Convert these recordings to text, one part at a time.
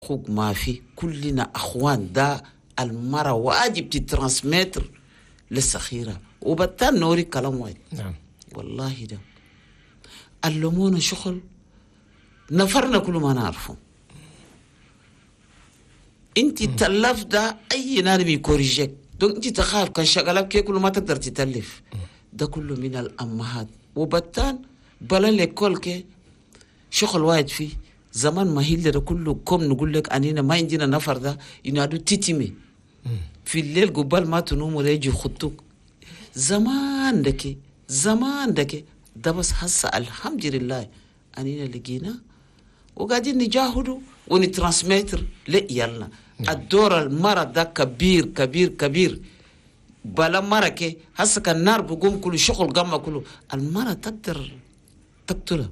أخوك ما في، كلنا أخوان. ده المرة واجب ت transmettre للصغيرة. وبتان نوري كلام واحد. والله ده علمونا شغل نفرنا كل ما نعرفه. انت تلف ده اي نادم ي corriger ك، donc انت تخاف كان شغلك كي كل ما تقدر تتلف. ده كله من الامهات. وبتان بلا l'école كي شغل واحد فيه زمان ما هي ده كله كم نقول لك انينا ما عندنا نفر ده ينادوا تيتيمي في الليل قبل ما تنوم ولا يجي يخطوك. زمان دكي زمان دكي ده، بس هسه الحمد لله انينا لقينا وقاعدين نجاهدوا ون transmettre لعيالنا. الدور المرة ده كبير كبير كبير. بلا مرة كي هسه كان النار بقوم كله شغل قام كله المرة تقدر تقتله.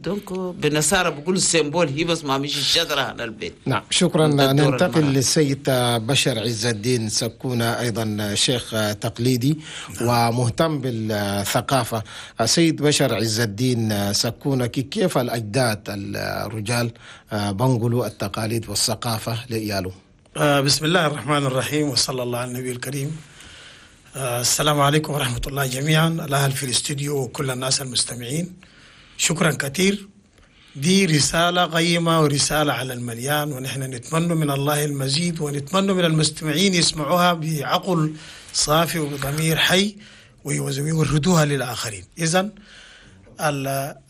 Donc بالنصارى بقول symbole هي بس ما مش الشجرة على البيت. نعم، شكرا. ده الدور ننتقل المرأة. للسيد بشر عز الدين سكونة، أيضا شيخ تقليدي ومهتم بالثقافة. سيد بشر عز الدين سكونة، كيف الأجداد الرجال بنقلوا التقاليد والثقافة لإيالهم؟ بسم الله الرحمن الرحيم، وصلى الله على النبي الكريم. السلام عليكم ورحمة الله جميعا، الأهل في الاستوديو وكل الناس المستمعين. شكرا كثير، دي رسالة قيمة ورسالة على المليان، ونحن نتمنى من الله المزيد، ونتمنى من المستمعين يسمعوها بعقل صافي وبضمير حي ويوردوها للآخرين. إذن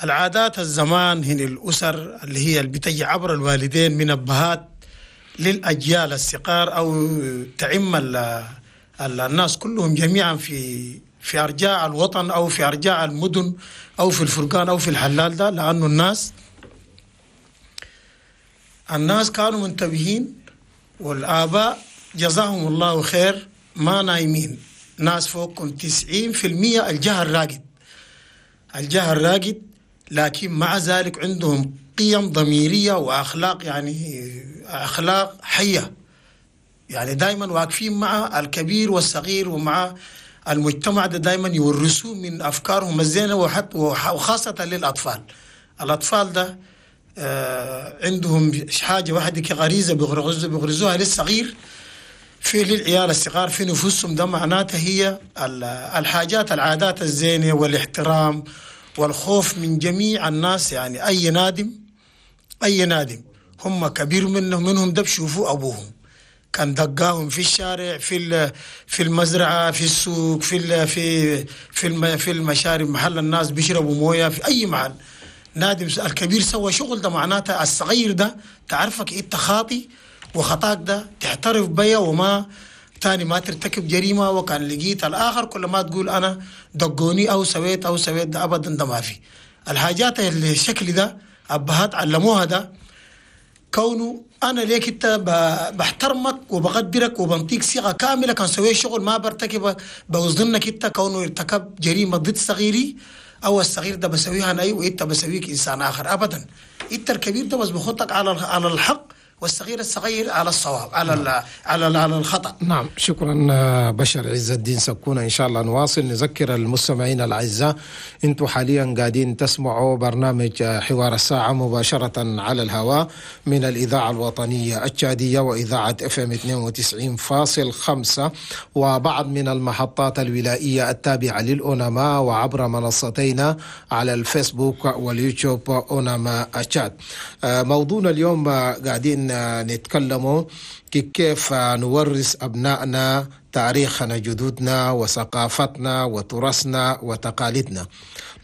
العادات الزمان هن الأسر اللي هي اللي بتجي عبر الوالدين من أبهات للأجيال الصغار أو تعم الناس كلهم جميعا في أرجاء الوطن أو في أرجاء المدن أو في الفرقان أو في الحلال ده، لأنه الناس كانوا منتبهين، والآباء جزاهم الله خير ما نايمين. ناس فوقكم 90% الجهل راقد، الجهل راقد، لكن مع ذلك عندهم قيم ضميرية وأخلاق، يعني أخلاق حية، يعني دائما واقفين مع الكبير والصغير ومع المجتمع ده، دائما يورثوه من أفكارهم الزينة، وخاصة للأطفال. الأطفال ده عندهم حاجة واحدة كغريزة بيغرزوها للصغير في للعيال الصغار في نفوسهم. ده معناته هي الحاجات العادات الزينة والاحترام والخوف من جميع الناس. يعني أي نادم هم كبير منهم ده بشوفوا أبوهم كان دقاهم في الشارع، في المزرعة، في السوق، في المشارب، محل الناس بيشربوا مويه، في أي محل نادم الكبير سوى شغل ده معناته الصغير ده تعرفك انت خاطي، وخطاك ده تعترف بيا وما تاني ما ترتكب جريمة. وكان لقيت الآخر كل ما تقول أنا دقوني أو سويت أو سويت، ده أبدا ده ما في. الحاجات اللي الشكل ده أبهات علموها، ده كونه انا ليك انت بحترمك وبقدرك وبنطيك صيغة كامله، كان سويت شغل ما برتكب بوظنك انت كونه ارتكب جريمة ضد صغيري او الصغير ده بسويها انا وانت بسويك انسان اخر. ابدا، انت الكبير ده بس بخطك على الحق، والصغير الصغير على الصواب على ال على ال على الخطا. نعم، شكرا بشر عز الدين سكونة. إن شاء الله نواصل. نذكر المستمعين الأعزاء، أنتم حاليا قاعدين تسمعوا برنامج حوار الساعة مباشرة على الهواء من الإذاعة الوطنية التشادية وإذاعة FM 92.5 وبعض من المحطات الولائية التابعة للأوناما، وعبر منصتينا على الفيسبوك واليوتيوب أوناما تشاد. موضوعنا اليوم قاعدين نتكلموا كيف نورث أبنائنا تاريخنا، جدودنا، وثقافتنا وتراثنا وتقاليدنا.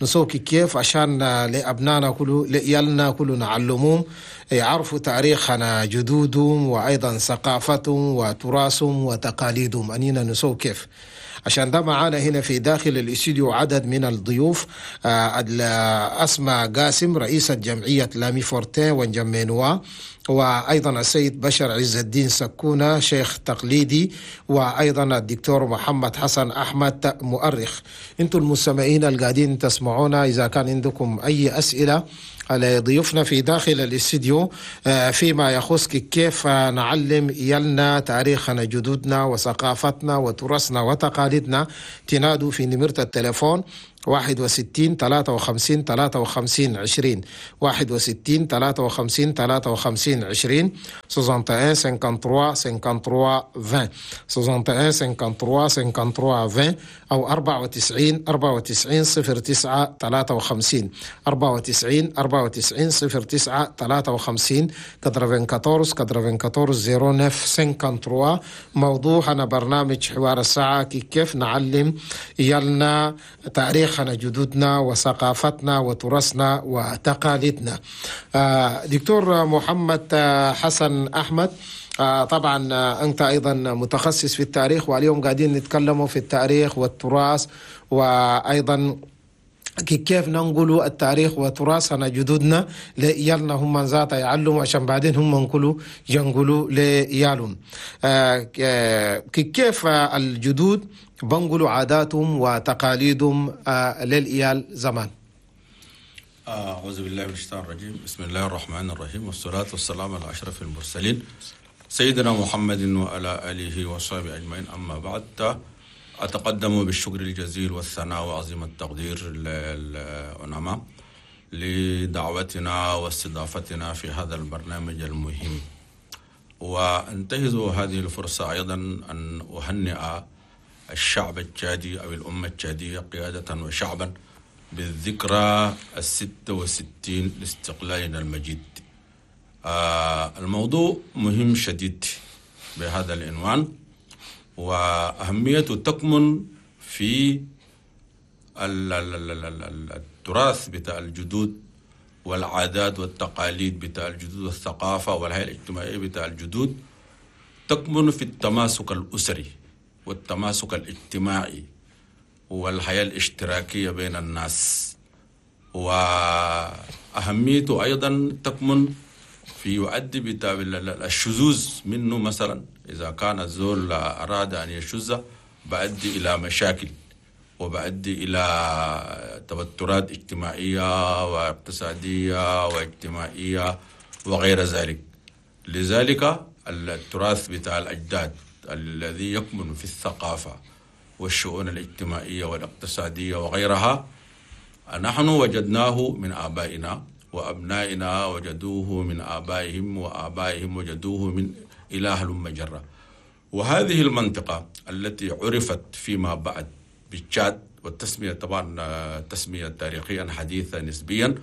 نسوي كيف عشان لأبنائنا كله، لعيالنا كله، نعلمهم يعرفوا تاريخنا جدودهم وأيضا ثقافتهم وتراثهم وتقاليدهم. أنينا نسوي كيف عشان ده؟ معانا هنا في داخل الاستوديو عدد من الضيوف: أسماء قاسم، رئيسة جمعية لامي فورتين وانجمينوا، وأيضا السيد بشر عز الدين سكونة، شيخ تقليدي، وأيضا الدكتور محمد حسن أحمد، مؤرخ. أنتم المستمعين القاعدين تسمعونا، إذا كان عندكم أي أسئلة على ضيوفنا في داخل الاستديو فيما يخص كيف نعلم عيالنا تاريخنا جدودنا وثقافتنا وتراثنا وتقاليدنا، تنادوا في نمرة التليفون 61 53 53 20، 61 53 53 20، 61 53 53 20، 61 53 53 20، أو 94 94 09 53، 94 94 09 53، 94 94 09 53. موضوعنا برنامج حوار الساعة كيف نعلم يلنا تاريخنا جدودنا وثقافتنا وتراثنا وتقاليدنا. دكتور محمد حسن أحمد، طبعا أنت أيضا متخصص في التاريخ، واليوم قاعدين نتكلموا في التاريخ والتراث، وأيضا كيف ننقلوا التاريخ وتراثنا جدودنا لإيالنا هم ذاته يعلموا عشان بعدين هم ينقلوا ينقلوا لإيالهم. كيف الجدود بنقلوا عاداتهم وتقاليدهم للإيال زمان؟ أعوذ بالله من الشيطان الرجيم، بسم الله الرحمن الرحيم، والصلاة والسلام على أشرف المرسلين سيدنا محمد وعلى آله وصحبه أجمعين. أما بعد، أتقدم بالشكر الجزيل والثناء وعظيم التقدير للأوناما لدعوتنا واستضافتنا في هذا البرنامج المهم، وأنتهز هذه الفرصة أيضا أن أهنئ الشعب التشادي أو الأمة التشادية قيادة وشعبا بالذكرى 66 لاستقلالنا المجيد. الموضوع مهم شديد بهذا العنوان، وأهميته تكمن في التراث بتاع الجدود والعادات والتقاليد بتاع الجدود والثقافة والحياة الاجتماعية بتاع الجدود، تكمن في التماسك الأسري والتماسك الاجتماعي والحياة الاشتراكية بين الناس. وأهميته أيضا تكمن في يؤدي بتاع الشذوذ منه، مثلا إذا كان الزول أراد أن يشذ بأدي إلى مشاكل وبأدي إلى توترات اجتماعية واقتصادية واجتماعية وغير ذلك. لذلك التراث بتاع الأجداد الذي يكمن في الثقافة والشؤون الاجتماعية والاقتصادية وغيرها نحن وجدناه من آبائنا، وأبنائنا وجدوه من آبائهم، وآبائهم وجدوه من إله المجرة. وهذه المنطقة التي عرفت فيما بعد بالتشاد، والتسمية طبعا تسمية تاريخيا حديثة نسبيا،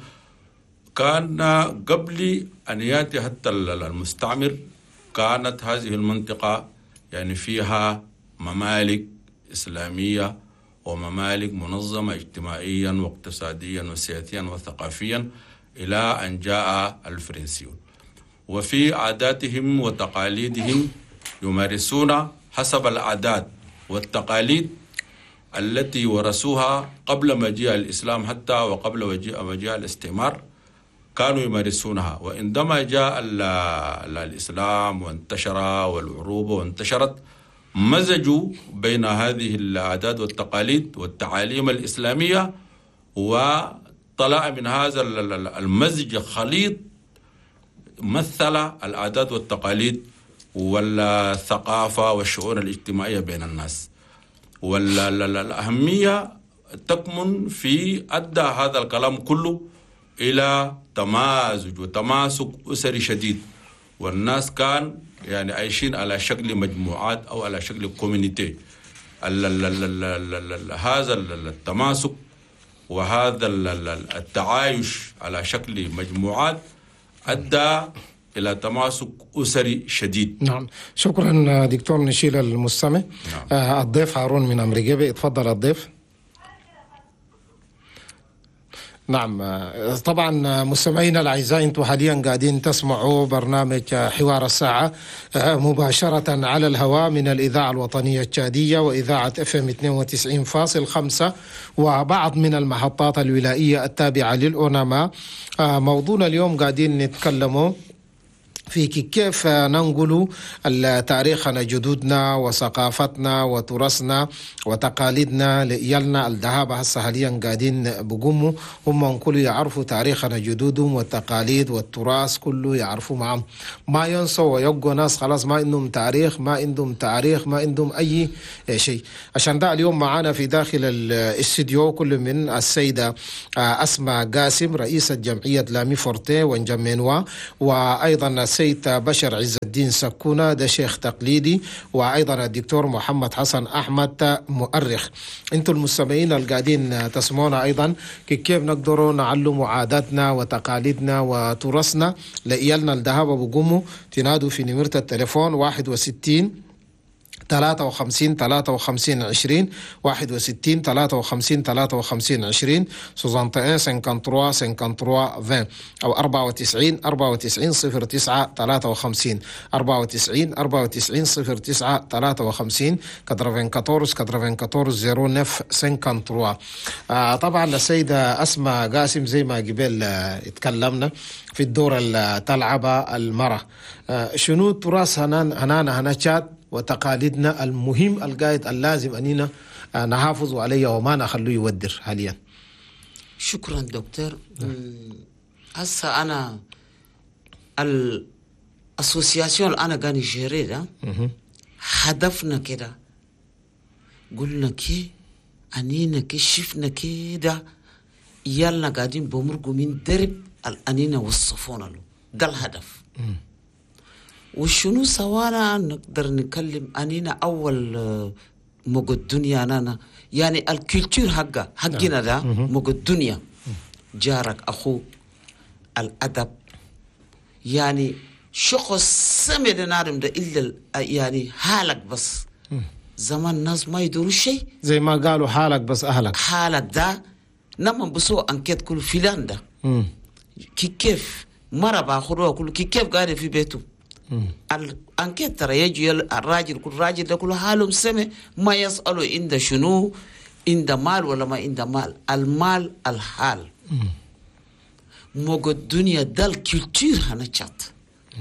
كان قبل أن يأتي حتى المستعمر كانت هذه المنطقة يعني فيها ممالك إسلامية وممالك منظمة اجتماعيا واقتصاديا وسياسيا وثقافيا إلى أن جاء الفرنسيون. وفي عاداتهم وتقاليدهم يمارسون حسب العادات والتقاليد التي ورثوها قبل مجيء الإسلام حتى وقبل مجيء الاستعمار كانوا يمارسونها. وعندما جاء الإسلام وانتشر والعروبة وانتشرت، مزجوا بين هذه العادات والتقاليد والتعاليم الإسلامية، وطلع من هذا المزج خليط مثل العادات والتقاليد والثقافة والشؤون الاجتماعية بين الناس. والأهمية تكمن في أدى هذا الكلام كله إلى تمازج وتماسك أسري شديد، والناس كان يعني عايشين على شكل مجموعات أو على شكل community. هذا التماسك وهذا التعايش على شكل مجموعات أدى إلى تماسك أسري شديد. نعم، شكرا دكتور. نشيل المستمع. نعم. الضيف هارون من أمريكا، اتفضل الضيف. نعم، طبعا مستمعينا الاعزاء، انتم حاليا قاعدين تسمعوا برنامج حوار الساعه مباشره على الهواء من الاذاعه الوطنيه التشاديه واذاعه FM 92.5 وبعض من المحطات الولائيه التابعه للاوناما. موضوعنا اليوم قاعدين نتكلموا في كيف ننقل تاريخنا جدودنا وثقافتنا وتراثنا وتقاليدنا لإيالنا الذهاب هسه حاليا قاعدين بقوموا هم كل يعرفوا تاريخنا جدودهم والتقاليد والتراث كله يعرفوا معهم، ما ينسوا ويبقوا ناس خلاص ما عندهم تاريخ، ما عندهم تاريخ، ما عندهم أي شيء. عشان ده اليوم معانا في داخل الاستديو كل من السيدة أسماء قاسم رئيسة جمعية لامي فورتي وانجمينوا، وأيضا السيد بشر عز الدين سكونة ده شيخ تقليدي، وأيضا الدكتور محمد حسن أحمد مؤرخ. انتم المستمعين القاعدين تسمعونا أيضا كيف نقدروا نعلم عاداتنا وتقاليدنا وتراثنا لإيالنا الذهاب بقوموا تنادوا في نمرة التليفون 61 53 53 20 61 53 53 20 61 53 53 20 أو 94 94 09 53 94 94 09 53 94 94 09 53. طبعا السيدة أسماء قاسم زي ما قبل اتكلمنا في الدور اللي تلعب المرأة، شنو تراث هنانا هنا تشاد وتقاليدنا المهم القايد اللازم أننا نحافظ عليه وما نخليه يودر حاليا؟ شكرا دكتور. هسه أنا ال association أنا قاني gérer ده هدفنا كده، قلنا كي أنينا كي شفنا كده يالنا قاعدين بمرقوا من درب الأنينا وصفونا له، ده الهدف. وشنو سوانا نقدر نكلم أنينا أول مق الدنيا أنا يعني ال culture حقنا ده مق الدنيا، جارك أخوك الأدب، يعني شخص سمع نارم ده إلا يعني حالك بس. زمان الناس ما يدوروا شيء زي ما قالوا حالك بس أهلك، حالك ده نما بسوا enquête كل فلان ده كيف مرة باخروها كل كيف قاعد في بيته ال enquête ترى يجي الراجل كل راجل ده كل حالهم سمع ما يسألوا عند شنو عند مال ولا ما عند مال، المال الحال موج الدنيا ده ال culture هنشات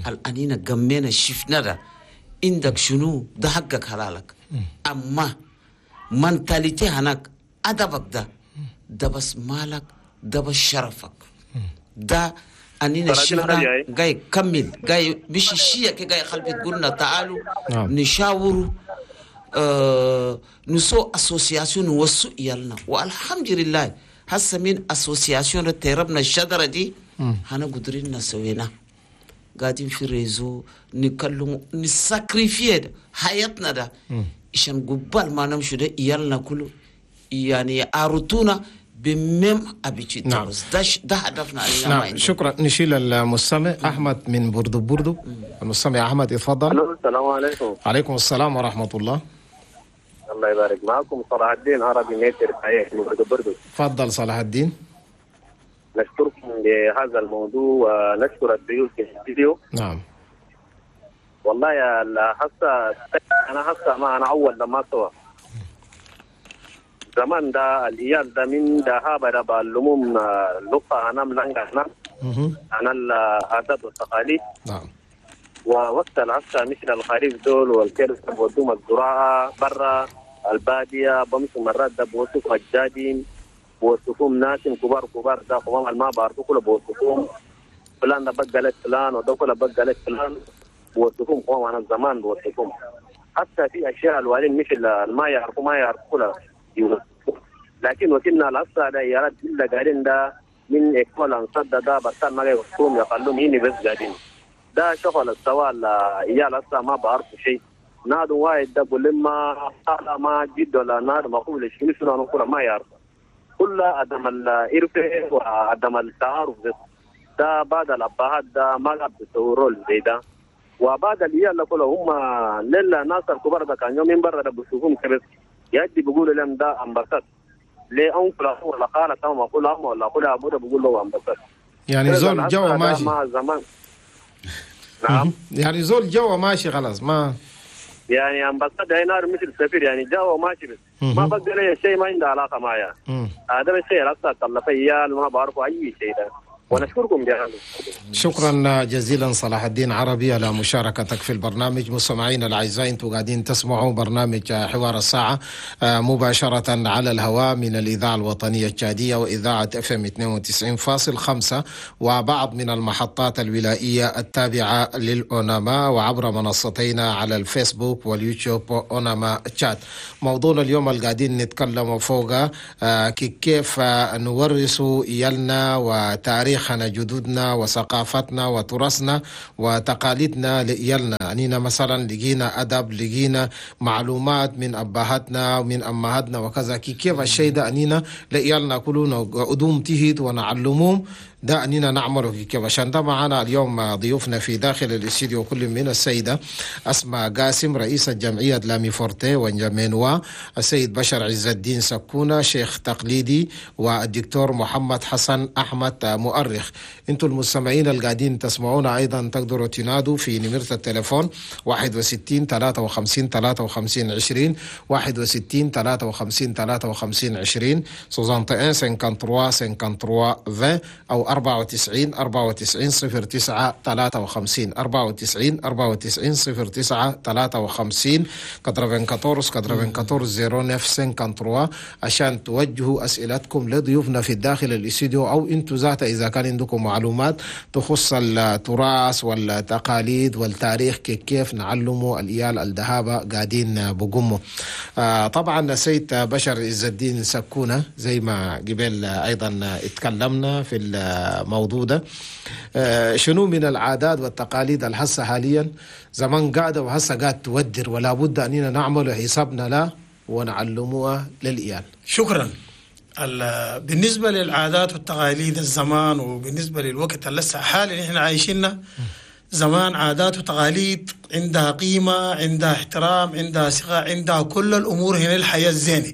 الأنينا جمينا شفنا ده عندك شنو ده حقك حلالك، أما mentalité هناك أدبك ده ده بس مالك ده بس شرفك ده أنينا شفنا جاي كمل جاي مش الشيء كي جاي خلف تقولنا تعالوا نشاوروا نسو association وسو يالنا، والحمد لله هسه من association تربنا الشجرة دي هنا قدرنا نسوينا قاعدين في réseau نكلم ن sacrifier حياتنا ده عشان قبل ما نمشي ده يالنا كله يعني عرضونا ب même habitude. نعم. ده هدفنا. نعم شكرا. نشيل المستمع أحمد من بوردو بوردو. المستمع أحمد يتفضل. السلام عليكم. عليكم السلام ورحمة الله. الله يبارك. معكم صلاح الدين عربي متر من بوردو بوردو. تفضل صلاح الدين. نشكركم لهذا الموضوع ونشكر الضيوف في الاستديو. نعم. والله يا حتى أنا حتى ما أنا أول لما سوا زمان ده الإيال ده من ده هابا بعلمهم اللغة أنا ملانجا أنا العادات والتقاليد. نعم. ووقت العصا مثل الخريف دول والكرس بودوم الزراعة برا البادية بمشوا مرات ده بوصفوا أجدادهم بوصفوهم ناس كبار كبار ده قوام الماء بعرفوا كله بوصفوهم فلان ده بقى لك فلان وده كله بقى لك فلان بوصفوهم قوام أنا زمان بوصفوهم حتى في أشياء الوالين مثل ما يعرفوا ما يعرفوا كله. لكن وكنا العصا ده يا رب إلا قاعدين ده من إكمال أنصاد ده بس ما يوصفوهم يقلون هني بس قاعدين ده شغل السوال يا العصا ما بعرفوا شيء نادو واحد ده بقول ما قال ما جد ولا نار ما قول شنو شنو أنا كله ما يعرف كل عدم العرف وعدم التعارف ده بعد الأبهات ده ما قاعد بيصوروا زي ده وبعد العيال كله هم للا ناس الكبار ده كان يومين برا ده بيشوفهم كبس يأتي بيقولوا لهم ده أمبسط ليه أنكل ولا قال تمام أقول أم ولا أقول أبوه بيقول له أمبسط يعني زول جوا ماشي مع زمان. نعم يعني زول جوا ماشي خلاص ما يعني أمبسط هنا مثل سفير يعني جوا ماشي بس ما بقدر أي شيء ما عنده علاقة معايا هذا الشيء أصلا طلع فيال ما بعرفه أي شيء ده. ونشكركم بهذا. شكرا جزيلا صلاح الدين عربي على مشاركتك في البرنامج. مستمعينا الاعزاء، انتم قاعدين تسمعوا برنامج حوار الساعة مباشرة على الهواء من الاذاعة الوطنية التشاديه واذاعة FM 92.5 وبعض من المحطات الولائيه التابعة للاوناما، وعبر منصتينا على الفيسبوك واليوتيوب اوناما تشاد. موضوعنا اليوم اللي قاعدين نتكلم فوقه كيف نورث إيالنا وتاريخنا جدودنا وثقافتنا وتراثنا وتقاليدنا لإيالنا. أننا مثلا لقينا أدب، لقينا معلومات من أبهاتنا ومن أمهاتنا وكذا، كيف الشيء ده أننا لإيالنا كلنا قدوم تهيد ونعلمهم ده أننا نعمله كيف. عشان ده معنا اليوم ضيوفنا في داخل الاستديو كل من السيدة أسماء قاسم رئيسة جمعية لامي فورتي ونجمينوا، السيد بشر عز الدين سكونة شيخ تقليدي، والدكتور محمد حسن أحمد مؤرخ. انتم المستمعين القاعدين تسمعونا أيضا تقدروا تنادوا في نمرة التليفون 61 53 53 20 61 53 53 20 61 53 53 20 أو 94 94 09 53 94 94 09 53 94 94 09 53 عشان توجهوا أسئلتكم لضيوفنا في الداخل الاستديو، أو أنتم ذات إذا كان عندكم معلومات تخص التراث والتقاليد والتاريخ كيف نعلموا الإيال الذهابة قاعدين بقمة. طبعا السيد بشر عز الدين سكونة زي ما قبل أيضا اتكلمنا في الموضوع ده، شنو من العادات والتقاليد الحسة حاليا زمان قاعدة وهسه قاعد تودر، ولا بد أننا نعمل حسابنا لا ونعلموها للإيال. شكرا. بالنسبة للعادات والتقاليد الزمان وبالنسبة للوقت اللي لسه حاليا احنا عايشينه، زمان عادات وتقاليد عندها قيمة، عندها احترام، عندها ثقة، عندها كل الأمور. هنا الحياة الزينة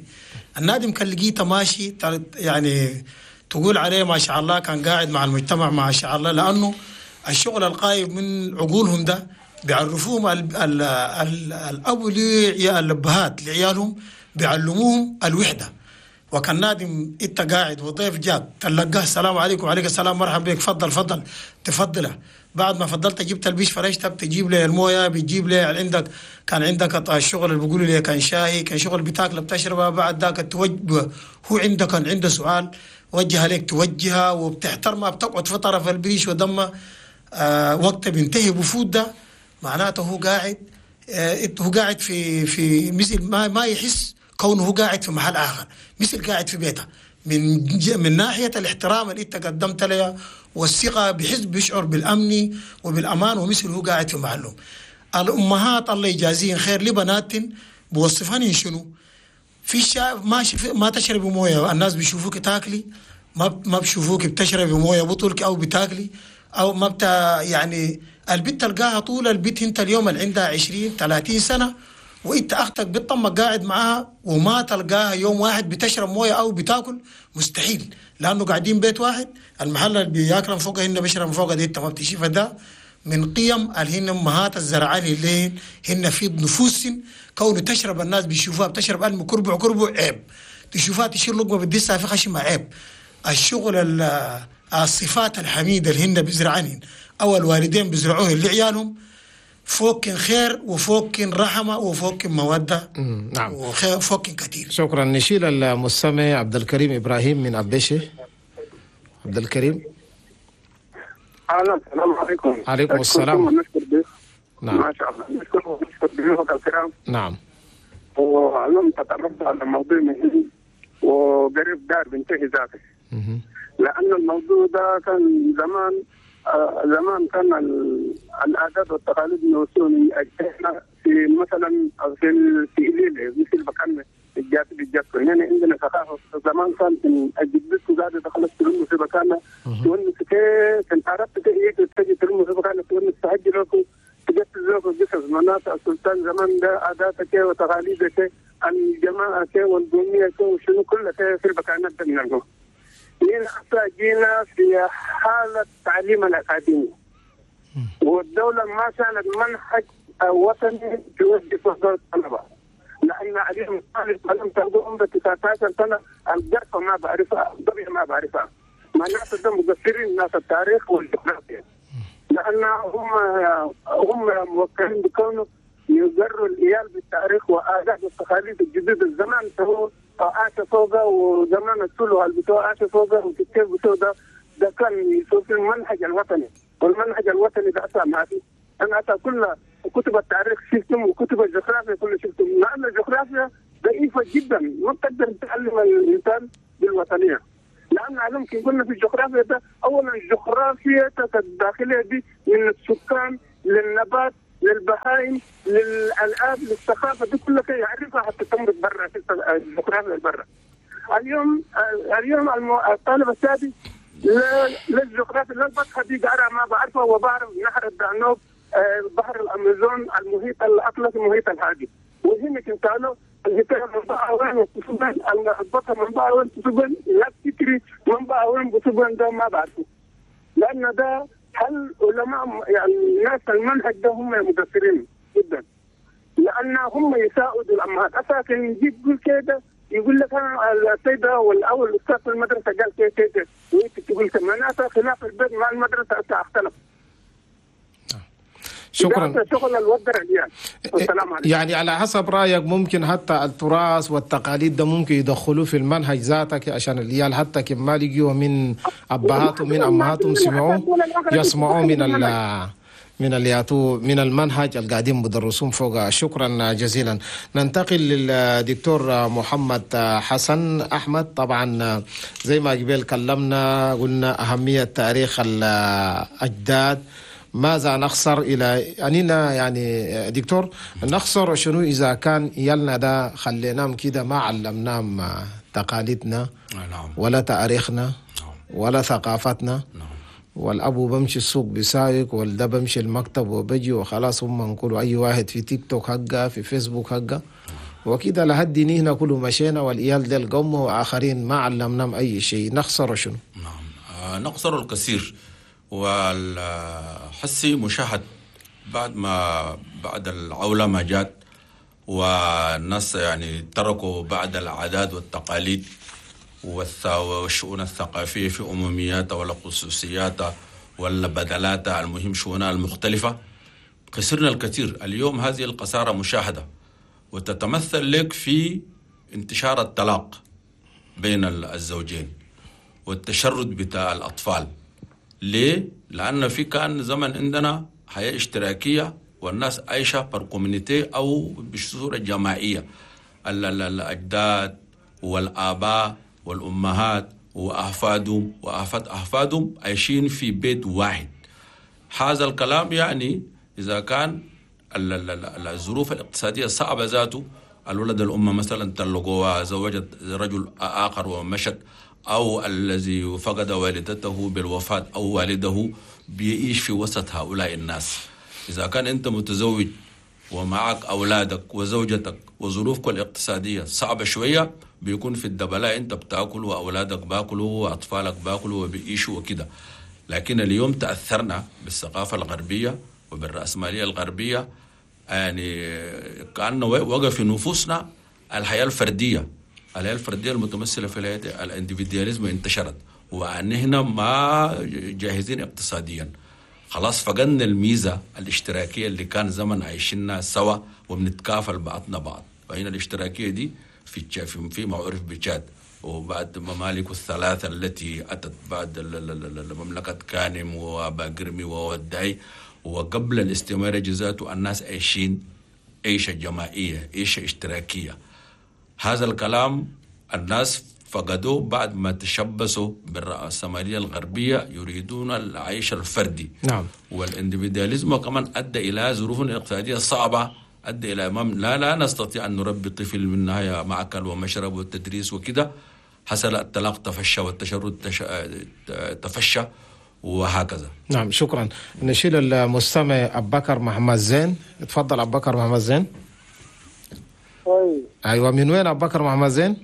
النادم كان لقيته ماشي يعني تقول عليه ما شاء الله، كان قاعد مع المجتمع ما شاء الله، لأنه الشغل القايم من عقولهم ده بيعرفوهم الأب الأبهات لعيالهم بيعلموهم الوحدة. وكان نادم انت قاعد وضيف جاك تلقاه السلام عليكم، وعليك السلام، مرحبا بك، فضل فضل، تفضله. بعد ما فضلت جبت البيش فرشته، بتجيب لي المويه، بتجيب لي عندك كان عندك الشغل اللي بيقولوا لي كان شاي، كان شغل بتاكله بتشربه. بعد ذاك توجه هو عندك كان عنده سؤال وجه عليك توجهها وبتحترمها، بتقعد في طرف البريش ودمه وقت بينتهي بفوت ده معناته هو قاعد هو قاعد في مثل ما يحس كونه هو قاعد في محل اخر، مثل قاعد في بيته. من ناحية الاحترام اللي انت قدمت له والثقة، بحس بيشعر بالامن وبالامان، ومثل هو قاعد في محله. الامهات الله يجازيهن خير لبنات بوصفهن شنو في ما تشربي مويه، الناس بيشوفوك تاكلي، ما بيشوفوك بتشربي مويه بطولك او بتاكلي او ما بتا يعني البنت تلقاها طول البيت. انت اليوم اللي عندها 20 30 سنة وانت اختك بتطمك قاعد معاها وما تلقاها يوم واحد بتشرب مويه او بتاكل، مستحيل، لانه قاعدين بيت واحد، المحل اللي بياكل فوق هن بيشرب فوق دي انت ما بتشوفها. ده من قيم اللي هن امهات الزرعان اللي هن في نفوسهن، كونه تشرب الناس بيشوفوها بتشرب الم كربع كربع عيب، تشوفها تشيل لقمة بتدسها في خشمها عيب. الشغل الصفات الحميدة اللي هن بيزرعانهن او الوالدين بيزرعوه لعيالهم فوق خير وفوق رحمه وفوق موده. نعم، وفوق كثير. شكرا. نشيل المستمع عبد الكريم ابراهيم من ابيشه. عبد الكريم، اهلا، السلام عليكم. عليكم السلام. نعم، ما شاء الله، نشكر ضيوفك الكرام. نعم، واليوم تطرقت على موضوع مهم وقريب دار بينتهي ذاته، لأن الموضوع ده كان زمان زمان كان العادات والتقاليد نوصول احنا في مثلا في الليل مثل مكان الجات بالجات يعني عندنا ثقافة زمان كان الجدتك قاعدة تخلص تلم في مكانها تونس كيف انت عرفت تجي تلم في مكانها تونس تهجر لكم تجهز قصص مناطق السلطان زمان ده عاداتك وتقاليدك الجماعة والقوميه وشنو كلها في المكانات ده من الجو. جينا في حالة تعليم الأكاديمي والدولة ما شالت منهج وطني توجه وزارة الطلبة، لأن عليهم طالب لم تلقوا عمره 19 سنة القرفة ما بعرفها، الضبيع ما بعرفها. معناته ده مقصرين ناس التاريخ والجغرافيا، لان هم موكلين بكونه يجروا العيال بالتاريخ وآداب والتقاليد الجديدة. الزمان هو عاش فوقه، وزمان السلو بتوع عاش فوقه وكيف بتوع ده كان يسوي في المنهج الوطني، والمنهج الوطني ده أصلا ما في. أنا أتى كل كتب التاريخ شفتم وكتب الجغرافيا كله شفتم، لأن الجغرافيا ضعيفة جدا ما تقدر تعلم الإنسان بالوطنية. لأن علمك قلنا في الجغرافيا ده أولا الجغرافيا الداخلية دي من السكان للنبات للبهائم للألعاب للثقافة دي كلها يعرفها حتى تمرق برا في الجغرافيا برا. اليوم الطالب السادس لا الجغرافيا لا البطحة دي قارئ ما بعرفها، وبعرف نهر الدانوب، بحر الأمازون، المحيط الأطلسي، المحيط الهادي. وهنا كنت الهتاف منبع وين بتصبن، البطحة منبع وين بتصبن، لا تكري منبع وين بتصبن، ده ما بعرفه. لأن ده هل علماء يعني الناس المنهج ده هم مقصرين جدا، لأن هم يساعدوا الأمهات. أساسا يجيب يقول كده، يقول لك أنا السيدة أو الأستاذ في المدرسة قال كده كده، وأنت تقول كده، معناتها خلاف البيت مع المدرسة اختلف. شكرا. شغل الودر السلام عليكم. يعني على حسب رأيك ممكن حتى التراث والتقاليد ده ممكن يدخلوه في المنهج ذاتك عشان العيال حتى كما لقيوا من أبهاتهم من أمهاتهم سمعوه يسمعوه من الياتو من المنهج القاعدين بدرسون فوق. شكرا جزيلا. ننتقل للدكتور محمد حسن أحمد. طبعا زي ما قبل كلمنا قلنا أهمية تاريخ الأجداد، ماذا نخسر إلى أننا يعني دكتور نخسر شنو إذا كان يلنا ده خليناهم كده ما علمناهم تقاليدنا ولا تاريخنا ولا ثقافتنا. والأبو بمشي السوق بسايق، والده بمشي المكتب وبجي وخلاص، هم نقولوا أي واحد في تيك توك حقه في فيسبوك حقه وكده لحد هنا كله مشينا، والإيال ده القوم وآخرين ما علمناهم أي شيء. نخسر شنو؟ نعم، نخسر الكثير. والحسي مشاهد بعد ما بعد العولمة جات والناس يعني تركوا بعد العادات والتقاليد والشؤون الثقافية في أممياتها ولا خصوصياتها ولا بدلاتها، المهم شؤونها المختلفة، خسرنا الكثير. اليوم هذه الخسارة مشاهدة وتتمثل لك في انتشار الطلاق بين الزوجين والتشرد بتاع الأطفال. ليه؟ لأن في كان زمن عندنا حياة اشتراكية والناس عايشة par communauté أو بصورة جماعية، الأجداد والآباء والأمهات وأحفادهم وأحفاد أحفادهم عايشين في بيت واحد. هذا الكلام يعني إذا كان الظروف الاقتصادية صعبة ذاته، الولد الأم مثلا طلقوها، زوجت رجل آخر ومشت، أو الذي فقد والدته بالوفاة أو والده، بيعيش في وسط هؤلاء الناس. إذا كان أنت متزوج ومعك أولادك وزوجتك وظروفك الاقتصادية صعبة شوية، بيكون في الدبلاء أنت بتاكل وأولادك باكلوا وأطفالك باكلوا وبيعيشوا وكده. لكن اليوم تأثرنا بالثقافة الغربية وبالرأسمالية الغربية، يعني كأنه وقف في نفوسنا الحياة الفردية، الحياة الفردية المتمثلة في ال individualism انتشرت، وأن هنا ما جاهزين اقتصاديا، خلاص فقدنا الميزة الاشتراكية اللي كان زمن عايشيننا سوا وبنتكافل بعضنا بعض. فهنا الاشتراكية دي في ما عرف بتشاد وبعد ممالك الثلاثة التي أتت بعد مملكة كانم وباقرمي وودعي وقبل الاستعمار ذاته، الناس عايشين عيشة جماعية، عيشة اشتراكية. هذا الكلام الناس فقدوه بعد ما تشبثوا بالرأسمالية الغربية، يريدون العيش الفردي. نعم. والاندفيدياليزم كمان أدى إلى ظروف اقتصادية صعبة، أدى إلى لا نستطيع أن نربي طفل من النهاية معكل ومشرب والتدريس وكده. حصل الطلاق تفشى والتشرد تفشى وهكذا. نعم، شكرا. نشيل المستمع أبو بكر محمد زين. تفضل أبو بكر محمد زين. ايوه، من وين ابو بكر محمد زين؟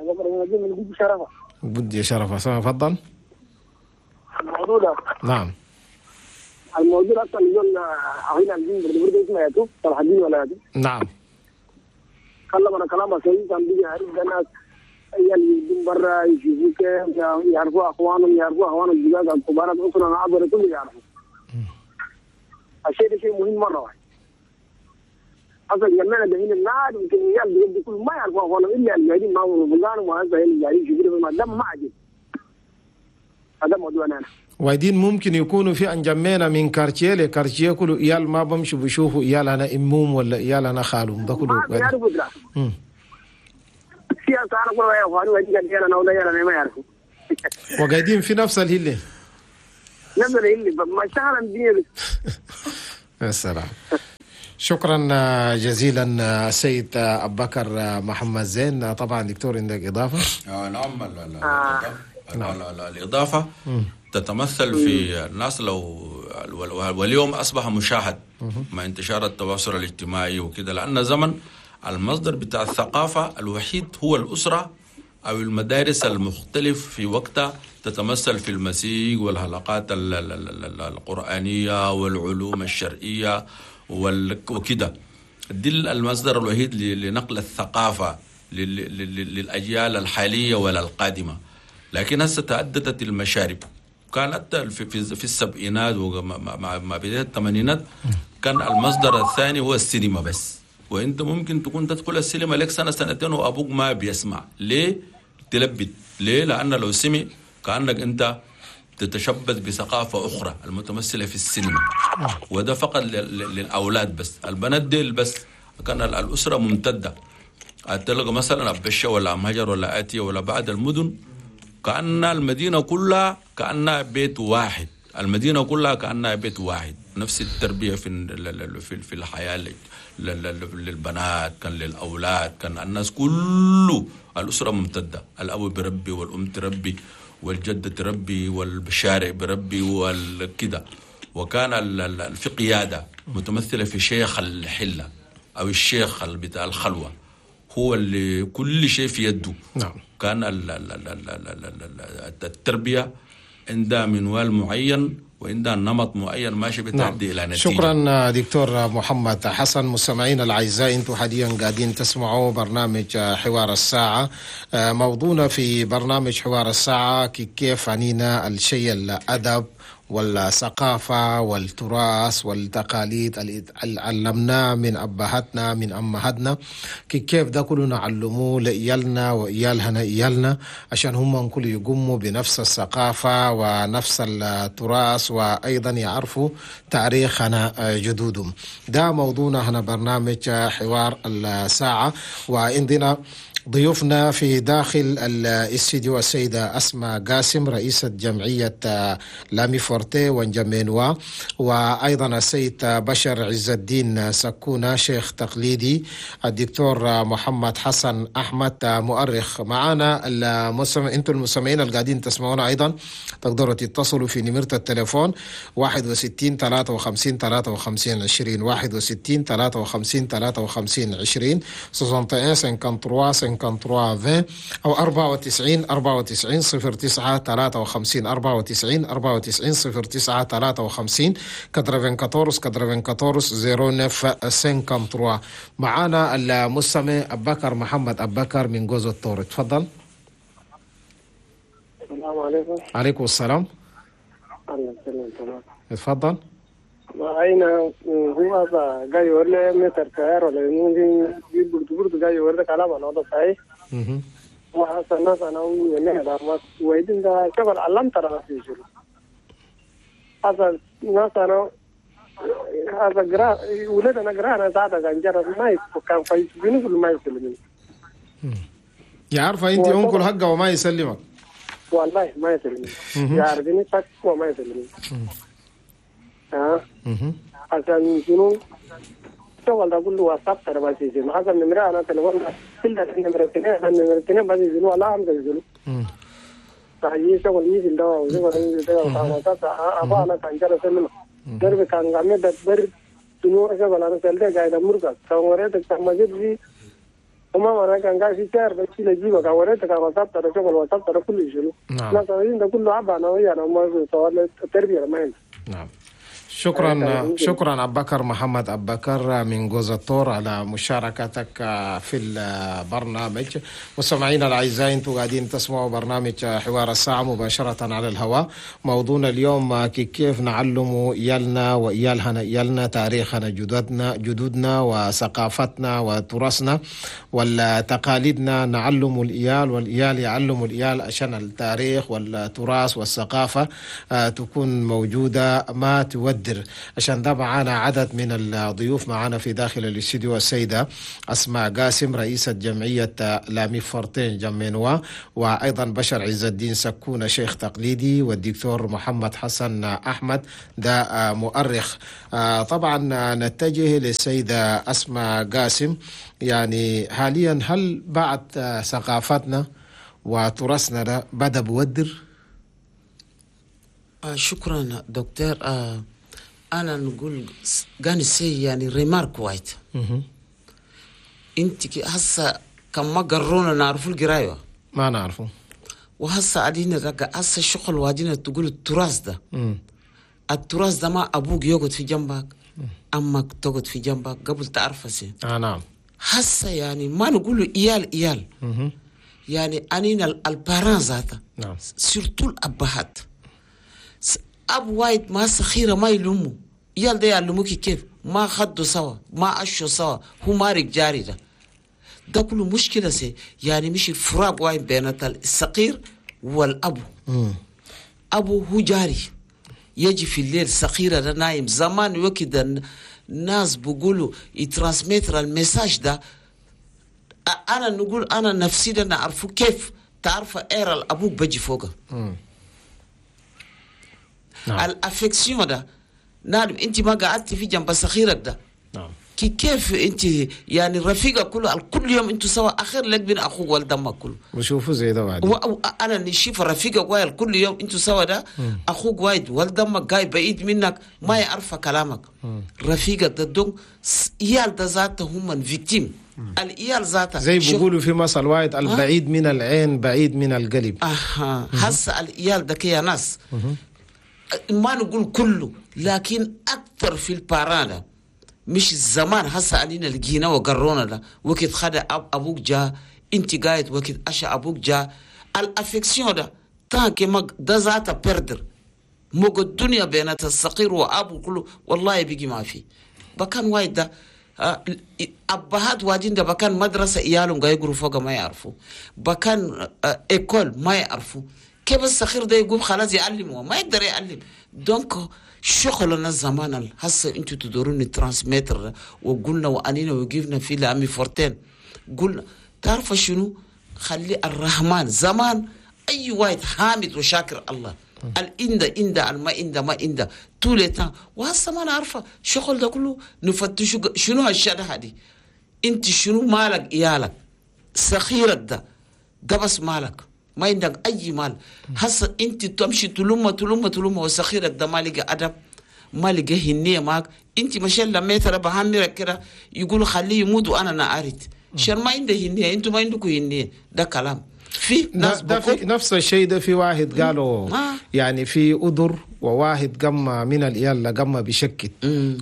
ابو بكر محمد زين من بدي شرفه. بدي شرفه، تفضل. الموضوع ده. نعم. الموضوع اصلا يقول عين الدين برضه اسمه ياتو صلاح الدين ولا ياتو. نعم. كلام انا كلامه صحيح، كان بيجي عارف الناس عيال برا يشوفوا كيف يعرفوا اخوانهم، يعرفوا اخوان الزجاج الكبار الاسره العبر كله يعرفوا. الشيء ده شيء مهم مره واحد. اصلا جمعنا ده هنا النار يمكن عيال بيجي كل ما يعرفوا اخوانهم الا اللي قاعدين معهم فلان وهذا اللي قاعدين يشوفوا ما دام ما عجب. هذا موضوعنا انا. وايدين ممكن يكونوا في انجمينا من quartier ل quartier كله عيال ما بمشوا بيشوفوا عيال انا امهم ولا عيال انا خالهم ده كله ما بيعرفوا دراسه. سياسة أنا كل واحد أخواني وأجي قال أنا ولا أنا ما يعرفوا. وقاعدين في نفس الهلة. نفس الهلة ما اشتغل الدنيا بس. يا سلام. شكرا جزيلا السيد أبو بكر محمد زين. طبعا دكتور عندك إضافة؟ نعم. الإضافة تتمثل في الناس لو واليوم أصبح مشاهد مع انتشار التواصل الاجتماعي وكده، لأن زمن المصدر بتاع الثقافة الوحيد هو الأسرة أو المدارس المختلف في وقتها، تتمثل في المسيج والحلقات القرآنية والعلوم الشرعية وكده. دي المصدر الوحيد لنقل الثقافة للأجيال الحالية ولا القادمة. لكن هسه تعددت المشارب. كانت في السبعينات ومع بداية الثمانينات كان المصدر الثاني هو السينما بس، وانت ممكن تكون تدخل السينما لك سنه سنتين وابوك ما بيسمع. ليه؟ تلبد. ليه؟ لان لو سمع كانك انت تتشبث بثقافه اخرى المتمثله في السينما، وده فقط للاولاد بس، البنات ديل بس. كان الاسره ممتده، تلقى مثلا أبشة ولا أم هجر ولا آتية ولا بعد المدن، كأن المدينه كلها كأنها بيت واحد، المدينه كلها كأنها بيت واحد. نفس التربيه في الحياه للبنات كان للأولاد، كان الناس كله الأسرة ممتدة، الأب بربي والأم تربي والجدة تربي والشارع بربي والكده. وكان في قيادة متمثلة في شيخ الحلة أو الشيخ بتاع الخلوة، هو اللي كل شيء في يده. نعم. كان التربية عندها منوال معين وعندها نمط معين ماشي بتؤدي. نعم. إلى نتيجة. شكرا دكتور محمد حسن. مستمعينا الأعزاء، أنتم حاليا قاعدين تسمعوا برنامج حوار الساعة. موضوعنا في برنامج حوار الساعة كيف عنينا الشيء الأدب والثقافة والتراث والتقاليد اللي علمناه من أبهاتنا من أمهاتنا، كيف ده كله نعلموه لإيالنا وإيالهنا إيالنا عشان هم كل يقوموا بنفس الثقافة ونفس التراث وأيضا يعرفوا تاريخنا جدودهم. ده موضوعنا هنا برنامج حوار الساعة. وعندنا ضيوفنا في داخل الاستديو السيدة أسماء قاسم رئيسة جمعية لامي فورتي وانجمينوا، وأيضا السيد بشر عز الدين سكونة شيخ تقليدي، الدكتور محمد حسن أحمد مؤرخ. معنا المستمع، انتم المستمعين اللي قاعدين تسمعونا أيضا تقدروا تتصلوا في نمرة التليفون 61 53 53 20 61 53 53 20 61 53 53 20 أو 94 94 09 53 94 94 09 53 94 94 09 53. معانا المستمع أبو بكر محمد أبو بكر من جوز الطور. تفضل. السلام عليكم. عليكم السلام. الله يسلمك. تفضل. أين هو هذا جاي ولا متر كهر ولا ممكن برد جاي ولا كلام أنا هذا صحيح. وهذا الناس أنا وينه هذا ما ويدين ده شغل علم ترى في شغل. هذا الناس أنا هذا جرا ولدنا جرا أنا زاد كان جرا ما يكان فايز بينه ما يسلمني. يعرف أنت أنكل حقه وما يسلمك. والله ما يسلمني. يعرفني صح وما يسلمني. عشان شنو شغل ده كله واتساب ترى بس يجي هذا النمرة أنا تلفون كل النمرة اثنين النمرة اثنين بس يجي ولا هم يجي فهي شغل يجي ده وشغل يجي ده واتساب أبا أنا كان جرى سلم درب كان قامي دبر شنو شغل أنا سألته قاعد أمرك كان وريتك كان مجد في وما أنا كان قاعد في شهر بس يجي كان وريتك كان واتساب ترى شغل واتساب ترى كله شنو لا ده كله عبا أنا ويا أنا ما سوال التربية ما عندي. نعم. شكرا شكرا أبو بكر محمد أبو بكر من جوز الطور على مشاركتك في البرنامج. مستمعينا الأعزاء، انتم قاعدين تسمعوا برنامج حوار الساعة مباشرة على الهواء. موضوعنا اليوم كيف نعلم إيالنا وإيالهنا إيالنا تاريخنا جدودنا وثقافتنا وتراثنا وتقاليدنا. نعلم الإيال والإيال يعلم الإيال عشان التاريخ والتراث والثقافة تكون موجودة ما تودر. عشان ده معانا عدد من الضيوف معانا في داخل الاستديو: السيدة أسماء قاسم رئيسة جمعية لامي فرتين جمينوا، وأيضا بشر عز الدين سكونة شيخ تقليدي، والدكتور محمد حسن أحمد ده مؤرخ. طبعا نتجه للسيدة أسماء قاسم. يعني حاليا هل بعد ثقافتنا وتراثنا ده بدأ بودر؟ شكرا دكتور. انا نقول قاني سي يعني remarque وايد. انت هسه كم ما قرونا نعرفوا القرايه ما نعرفه، وهسه عدينا رجع هسه الشغل وادينا تقول التراث ده. التراث ده ما ابوك يقعد في جنبك، امك تقعد في جنبك قبل تعرفه سي. نعم. هسه يعني ما نقول إيال إيال. يعني انينا ال parents ذاته. نعم. surtout الابهات. اب وايد ما صخيره ما يلوموا يال ده يعلموك كيف ما خدوا سوا ما اشوا سوا هو مارك جاري ده كله مشكله سي. يعني مش الفراق وايد بين الصغير والابو. ابو هو جاري يجي في الليل صغيره ده نايم. زمان وكده الناس بيقولوا ي transmettre ال message ده. انا نقول انا نفسي ده نعرفه كيف تعرف اير الابوك بيجي فوقه. نعم. ال affection ده نعم انت ما قعدتي في جنب صغيرك ده. نعم. كيف انت يعني رفيقه كله كل يوم انتوا سوا اخر لك بين اخوك والدمك كله وشوفوا زي ده بعد انا نشوف رفيقه وايد كل يوم انتوا سوا ده. اخوك وايد والدمك جاي بعيد منك ما يعرف كلامك. رفيقك ده دون عيال ده ذاته هم victimes. العيال ذاته زي بيقولوا في مثل وايد البعيد من العين بعيد من القلب. هسه العيال ده يا ناس ما نقول كله لكن أكثر في ال parents. مش الزمان هسه علينا لقينا وقرونا ده وقت خد أبوك جا انت قاعد وقت أشا أبوك جا ال affection ده تانك ما ده ذاته perdre موج الدنيا بين الصغير وأبو كله والله بيجي ما في بكان وايد ده. أبهات واجين ده بكان مدرسة إيالهم قاعد يقروا فوق ما يعرفوا بكان école ما يعرفوا كيف الصغير ده يقوم خلاص يعلمه ما يقدر يعلم. donc شغلنا زمان هسه انتوا تدورون transmettre وقلنا وانينا وقفنا في لامي فورتين قلنا تعرف شنو خلي الرحمن زمان اي واحد حامد وشاكر الله الإندا إندا الما إندا ما إندا طول temps. وهسه ما نعرفه شغل ده كله نفتش شنو هالشهاده هذه انت شنو مالك إيالك صغيرك ده بس مالك ما عندك أي مال. هسه أنت تمشي تلومة تلومة تلومة وصغيرك ده ما لقى أدب ما لقى هنية معك. أنت مشان لما يترى بهمرك كده يقولوا خليه يموت وأنا نعرت عشان ما عنده هنية أنتوا ما عندكم هنية. ده كلام في ناس ده في نفس الشيء ده في واحد قالوا يعني في أدر وواحد قمة من الإيال قمة بشكل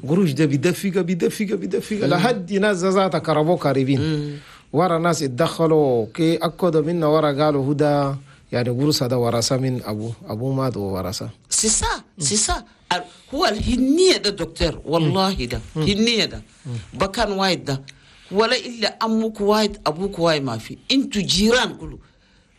قروش ده بدفقة بدفقة بدفقة لحد ناس ذاتها كربو قريبين ورا ناس اتدخلوا كي أكدوا منا ورا قالوا هدى يعني ورثة ده ورثة من أبوه مات وورثة. c'est ça c'est ça هو الهنية ده دكتور والله ده هنية ده بكان وايد ده ولا إلا أمك وايد أبوك وايد ما في أنتوا جيران كله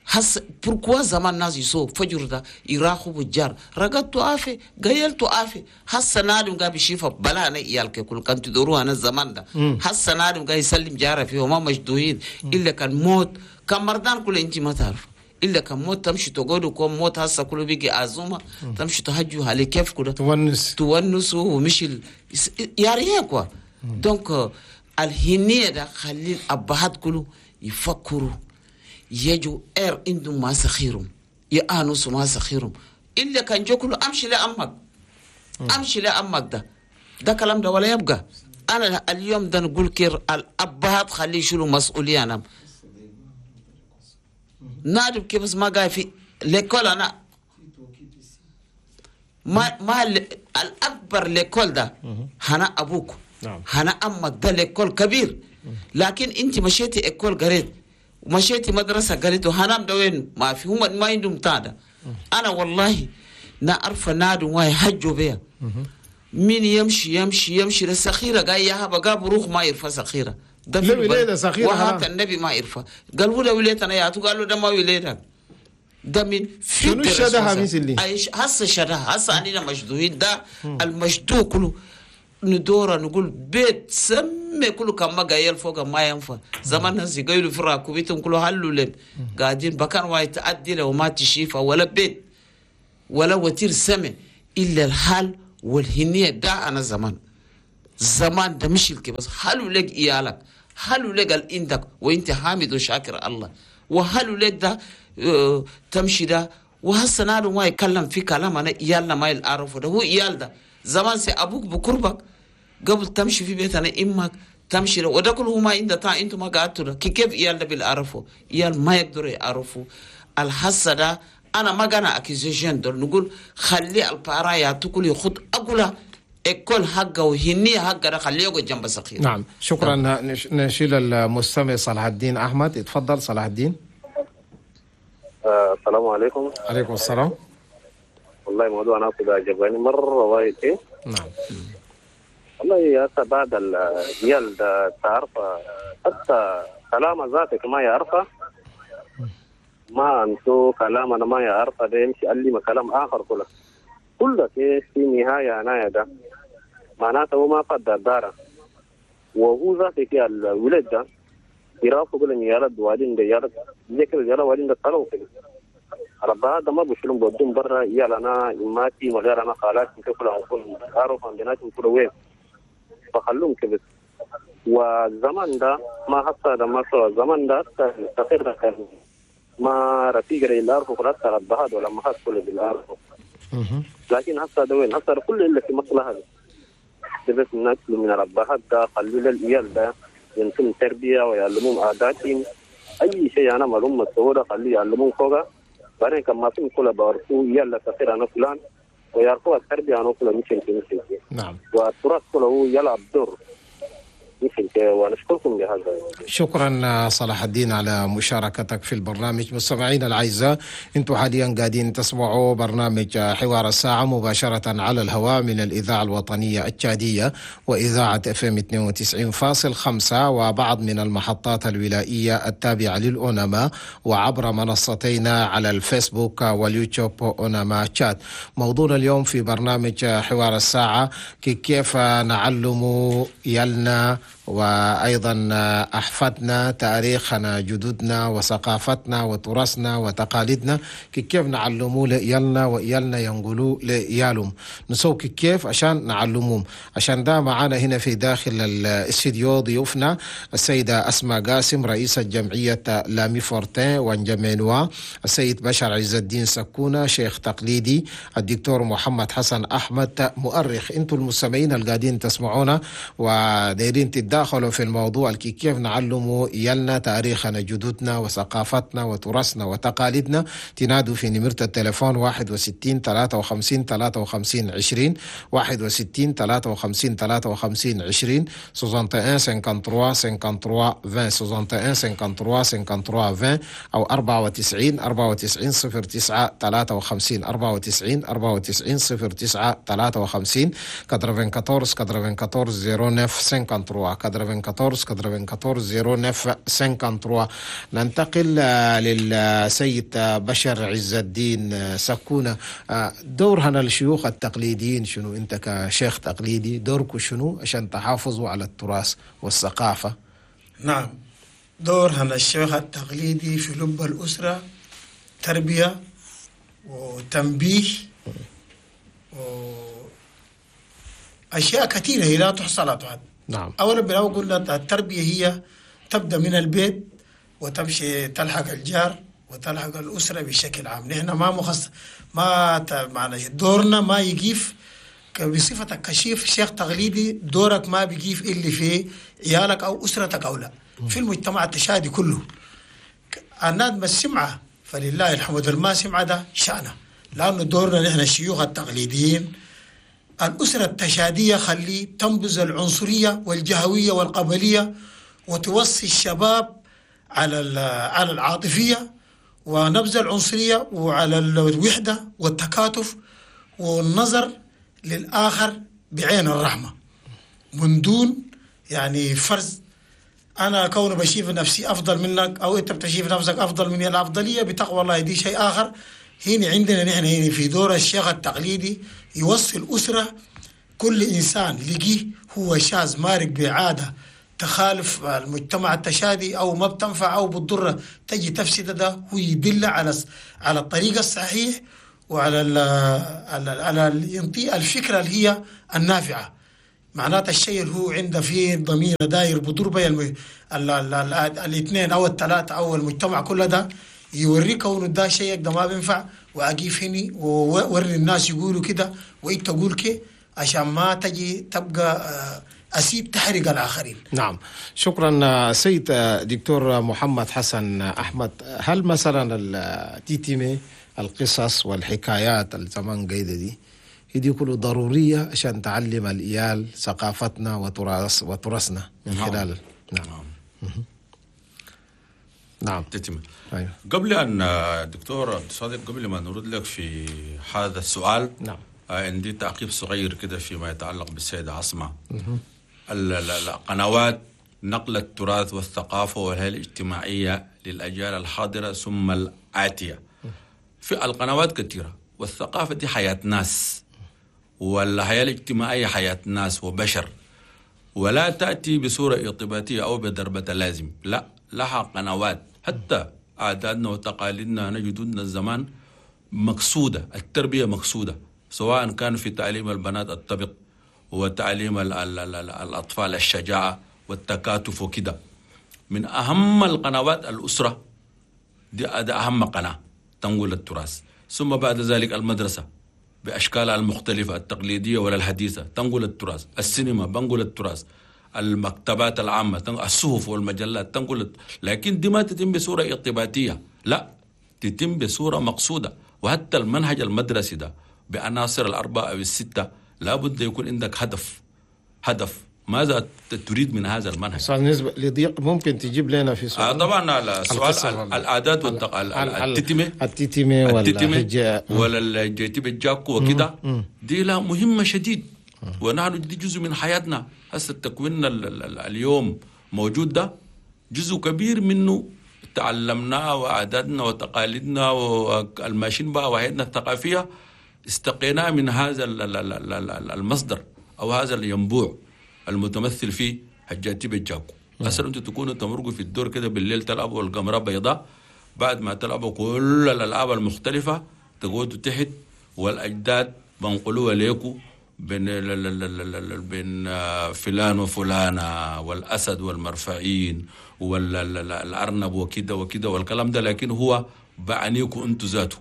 هس pourquoi زمان ناس يسو فجر ده يراخو بالجار رقدتو آفي قيلتو آفي هسه نادم قا بيشيفه بلا أنا إيالك كل كان تدوروها أنا الزمان ده هسه نادم قا يسلم جاره فيه وما مجدوهين إلا كان موت كان مردان كل أنت ما تعرف إلا كان موت تمشي تقعدوا كون موت هسه كله بيجي عزومة تمشي تهجوا على كيف كده تونس ومشي يا ريت quoi donc الهنية ده خلي الأبهات كله يفكروا يجوا إير عندهم ما سخيرهم يآنسوا ما سخيرهم إلا كان جو كله أمشي لأمك أمشي لأمك ده كلام ده ولا يبقى. أنا اليوم ده نقول كير الأبهات خليه يشيلوا مسؤولية. أنا نعرف كيف ما قاعد في l'école. أنا ما الاكبر l'école ده هنا ابوك. نعم. هنا امك ده l'école كبير. لكن انت مشيتي école قريت ومشيتي مدرسه قريت وهنام ده وين ما في هم ما عندهم تادا. انا والله نعرف نادو واي حجوا بيها مين يمشي يمشي يمشي للسخيره قاي يا هبا قاب روح ما يرفع سخيره ده في وليدة سخيرة وهات النبي ما يرفع قالوا له وليتنا يا قالوا ده ما وليدك ده من في شنو الشدها مثل هسه شدها هسه اننا مشدوهين ده المشدوه كله ندورة نقول بيت سمي كله كم ما قايل فوق ما ينفع زمان ناس يقولوا في راكوبيتهم كله هلو لم قاعدين بكان واي تأدي لو ما تشيفه ولا بيت ولا وتير سمي إلا الحال والهنية ده أنا زمان زمان ده مش الكي بس حلو لك إيالك حلو لك عندك وانت حامد وشاكر الله وحلو لك ده تمشي ده وهسه نادو ما يتكلم في كلام أنا إيالنا ما يعرفه ده هو إيال ده زمان سي أبوك بقربك قبل تمشي في بيت أنا إمك تمشي له وده كله ما عند تا أنتم ما قعدتوا ده كيف إيال ده بالعرفه إيال ما يقدروا يعرفوا الحسة ده أنا ما قانا accusation دول نقول خلي ال parents ياتكل يخد أقوله école حقه وهنية حقه ده خليه يقعد جنب سخير. نعم شكرا. نشيل المستمع صلاح الدين أحمد. اتفضل صلاح الدين. السلام عليكم. عليكم السلام. والله موضوع أنا كده عجبني مرة وايد. نعم والله يا بعد الجيل ده تعرف حتى كلام ذاتك ما يعرفه ما أنتو كلام أنا ما يعرفه ده يمشي قال لي كلام آخر كله كله في نهاية أنا ده معناته هو ما قدر داره وهو ذاتك الولد ده يرافق لهم يارد والدين ده يارد ذكر يارد والدين ده طلعوا كده ربها ده ما بشلون بدون برا يلا أنا إماتي وغير أنا خالاتي كل عقول عارف عندنا كل وين فخلوهم كده. والزمان ده ما حصل ده ما صار الزمان ده استقر كان ما رفيق اللي عارفه خلاص ربها ولا ما حصل اللي عارفه. لكن حصل ده وين حصل كل اللي في مصلحة ده بس الناس من ربها ده خلوا للعيال ده ينتم تربية ويعلمون عاداتهم أي شيء أنا معلوم متصورة خليه يعلمون فوقه بعدين كما في كل بعرفوا يلا تصير أنا فلان ويعرفوا التربية أنا فلان مش مش. نعم. والتراث كله يلعب دور ونشكركم لهذا. شكرا صلاح الدين على مشاركتك في البرنامج. مستمعينا الأعزاء، انتم حاليا قاعدين تسمعوا برنامج حوار الساعة مباشرة على الهواء من الإذاعة الوطنية التشادية وإذاعة FM 92.5 وبعض من المحطات الولائية التابعة للأونما، وعبر منصتينا على الفيسبوك واليوتيوب أونما تشاد. موضوعنا اليوم في برنامج حوار الساعة كيف نعلم يلنا وأيضا أحفادنا تاريخنا جدودنا وثقافتنا وتراثنا وتقاليدنا، كيف نعلموا لإيالنا وإيالنا ينقلوا لإيالهم، نسوي كيف عشان نعلمهم. عشان ده معانا هنا في داخل الاستديو ضيوفنا السيدة أسماء قاسم رئيسة جمعية لامي فورتين وانجمينوا، السيد بشر عز الدين سكونة شيخ تقليدي، الدكتور محمد حسن أحمد مؤرخ. انتم المستمعين القاعدين تسمعونا ودايرين تتداخلوا في الموضوع كيف نعلموا يلنا تاريخنا جدودنا وثقافتنا وتراثنا وتقاليدنا، تنادوا في نمرة التليفون 61 53 53 20 61 53 53 20 61 53 53 20 61 53 53 20 أو 94 94 09 53 94 94 09 53 94 94 09 53 94 94 09 53. ننتقل للسيد بشر عز الدين سكونة. دور هنا الشيوخ التقليديين شنو؟ انت كشيخ تقليدي دورك شنو عشان تحافظوا على التراث والثقافة؟ نعم، دور هنا الشيخ التقليدي في لب الأسرة تربية وتنبيه وأشياء كثيرة هي لا تحصى لا تعد. نعم. أولا بالأول قلنا التربية هي تبدأ من البيت وتمشي تلحق الجار وتلحق الأسرة بشكل عام. نحن ما مخص ما معنا دورنا ما يقيف بصفتك كشيف شيخ تقليدي، دورك ما بيقيف إلا في عيالك أو أسرتك أو لا في المجتمع التشادي كله. الناس ما السمعة فلله الحمد، ما سمعة ده شأنه، لأنه دورنا نحن الشيوخ التقليديين. الأسرة التشادية خلي تنبذ العنصرية والجهوية والقبلية وتوصي الشباب على العاطفية ونبذ العنصرية وعلى الوحدة والتكاتف والنظر للآخر بعين الرحمة من دون يعني فرز. أنا كون بشيف نفسي أفضل منك أو أنت بتشيف نفسك أفضل مني، الأفضلية بتقوى الله دي شيء آخر. هنا عندنا نحن هنا في دور الشيخ التقليدي يوصل أسرة كل إنسان لقيه هو شاذ مارق بعادة تخالف المجتمع التشادي أو ما بتنفع أو بتضره تجي تفسد ده، هو يدل على الطريق الصحيح وعلى على ينطي الفكرة اللي هي النافعة. معناته الشيء اللي هو عنده فيه ضمير داير بدور بين الاثنين أو الثلاثة أو المجتمع كله ده يوريك كونه ده شيء ده ما بينفع، وأقيف هني ووري الناس يقولوا كده وإنت تقول كده عشان ما تجي تبقى أسيب تحرق الآخرين. نعم، شكرا سيد دكتور محمد حسن أحمد. هل مثلا التيتيمي القصص والحكايات الزمان قيدة دي كله ضرورية عشان تعلم الإيال ثقافتنا وتراثنا من خلال؟ نعم. نعم. تتم. أيوة. قبل أن دكتور عبد الصادق، قبل ما نرد لك في هذا السؤال، نعم، عندي تعقيب صغير كده فيما يتعلق بالسيدة عصمة. القنوات نقل التراث والثقافة والهيئة الاجتماعية للأجيال الحاضرة ثم الآتية. في القنوات كثيرة، والثقافة دي حياة ناس، والحياة الاجتماعية حياة ناس وبشر، ولا تأتي بصورة ارتباطية أو بضربة لازم، لا، لها قنوات. حتى عاداتنا وتقاليدنا نجدنا الزمان مقصودة، التربية مقصودة، سواء كان في تعليم البنات الطبق وتعليم الأطفال الشجاعة والتكاتف وكده. من أهم القنوات الأسرة، دي أهم قناة تنقل التراث، ثم بعد ذلك المدرسة بأشكالها المختلفة التقليدية ولا الحديثة تنقل التراث، السينما بنقل التراث، المكتبات العامة، الصحف والمجلات تنقل. لكن دي ما تتم بصورة ارتباطية، لا، تتم بصورة مقصودة. وحتى المنهج المدرسي ده بعناصر الأربعة أو الستة لابد يكون عندك هدف. هدف ماذا تريد من هذا المنهج؟ بالنسبة لضيق ممكن تجيب لنا في سؤال؟ طبعا السؤال العادات التتمة ولا الجيتيب الجاكو وكده، دي لا مهمة شديد، ونحن دي جزء من حياتنا. هسه التكوين اليوم موجود ده جزء كبير منه تعلمناه وعاداتنا وتقاليدنا والماشين بقى وحياتنا الثقافية استقيناه من هذا المصدر أو هذا الينبوع المتمثل فيه حجاتي بالجاكو. أصلا أنتوا تكونوا تمرقوا في الدور كده بالليل تلعبوا القمرة بيضاء، بعد ما تلعبوا كل الألعاب المختلفة تقعدوا تحت والأجداد بنقلوها ليكوا بين بين فلان وفلانة والأسد والمرفعين والأرنب وكده وكده والكلام ده، لكن هو بعنيكوا أنتوا ذاته،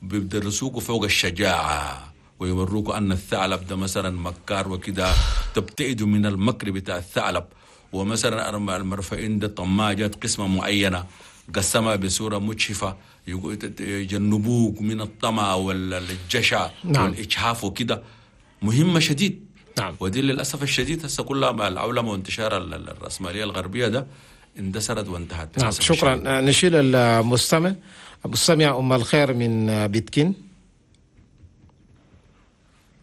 بيدرسوكوا فوق الشجاعة ويوروكوا أن الثعلب ده مثلا مكار وكده، تبتعدوا من المكر بتاع الثعلب. ومثلا المرفعين ده طماع جات قسمة معينة قسمها بصورة مجحفة، يجنبوك من الطمع والجشع. نعم. والإجحاف وكده، مهمة شديد. نعم. ودي للأسف الشديد هسه كلها مع العولمة وانتشار الرأسمالية الغربية ده اندثرت وانتهت. نعم، شكرا. نشيل المستمع المستمع أم الخير من بيتكين،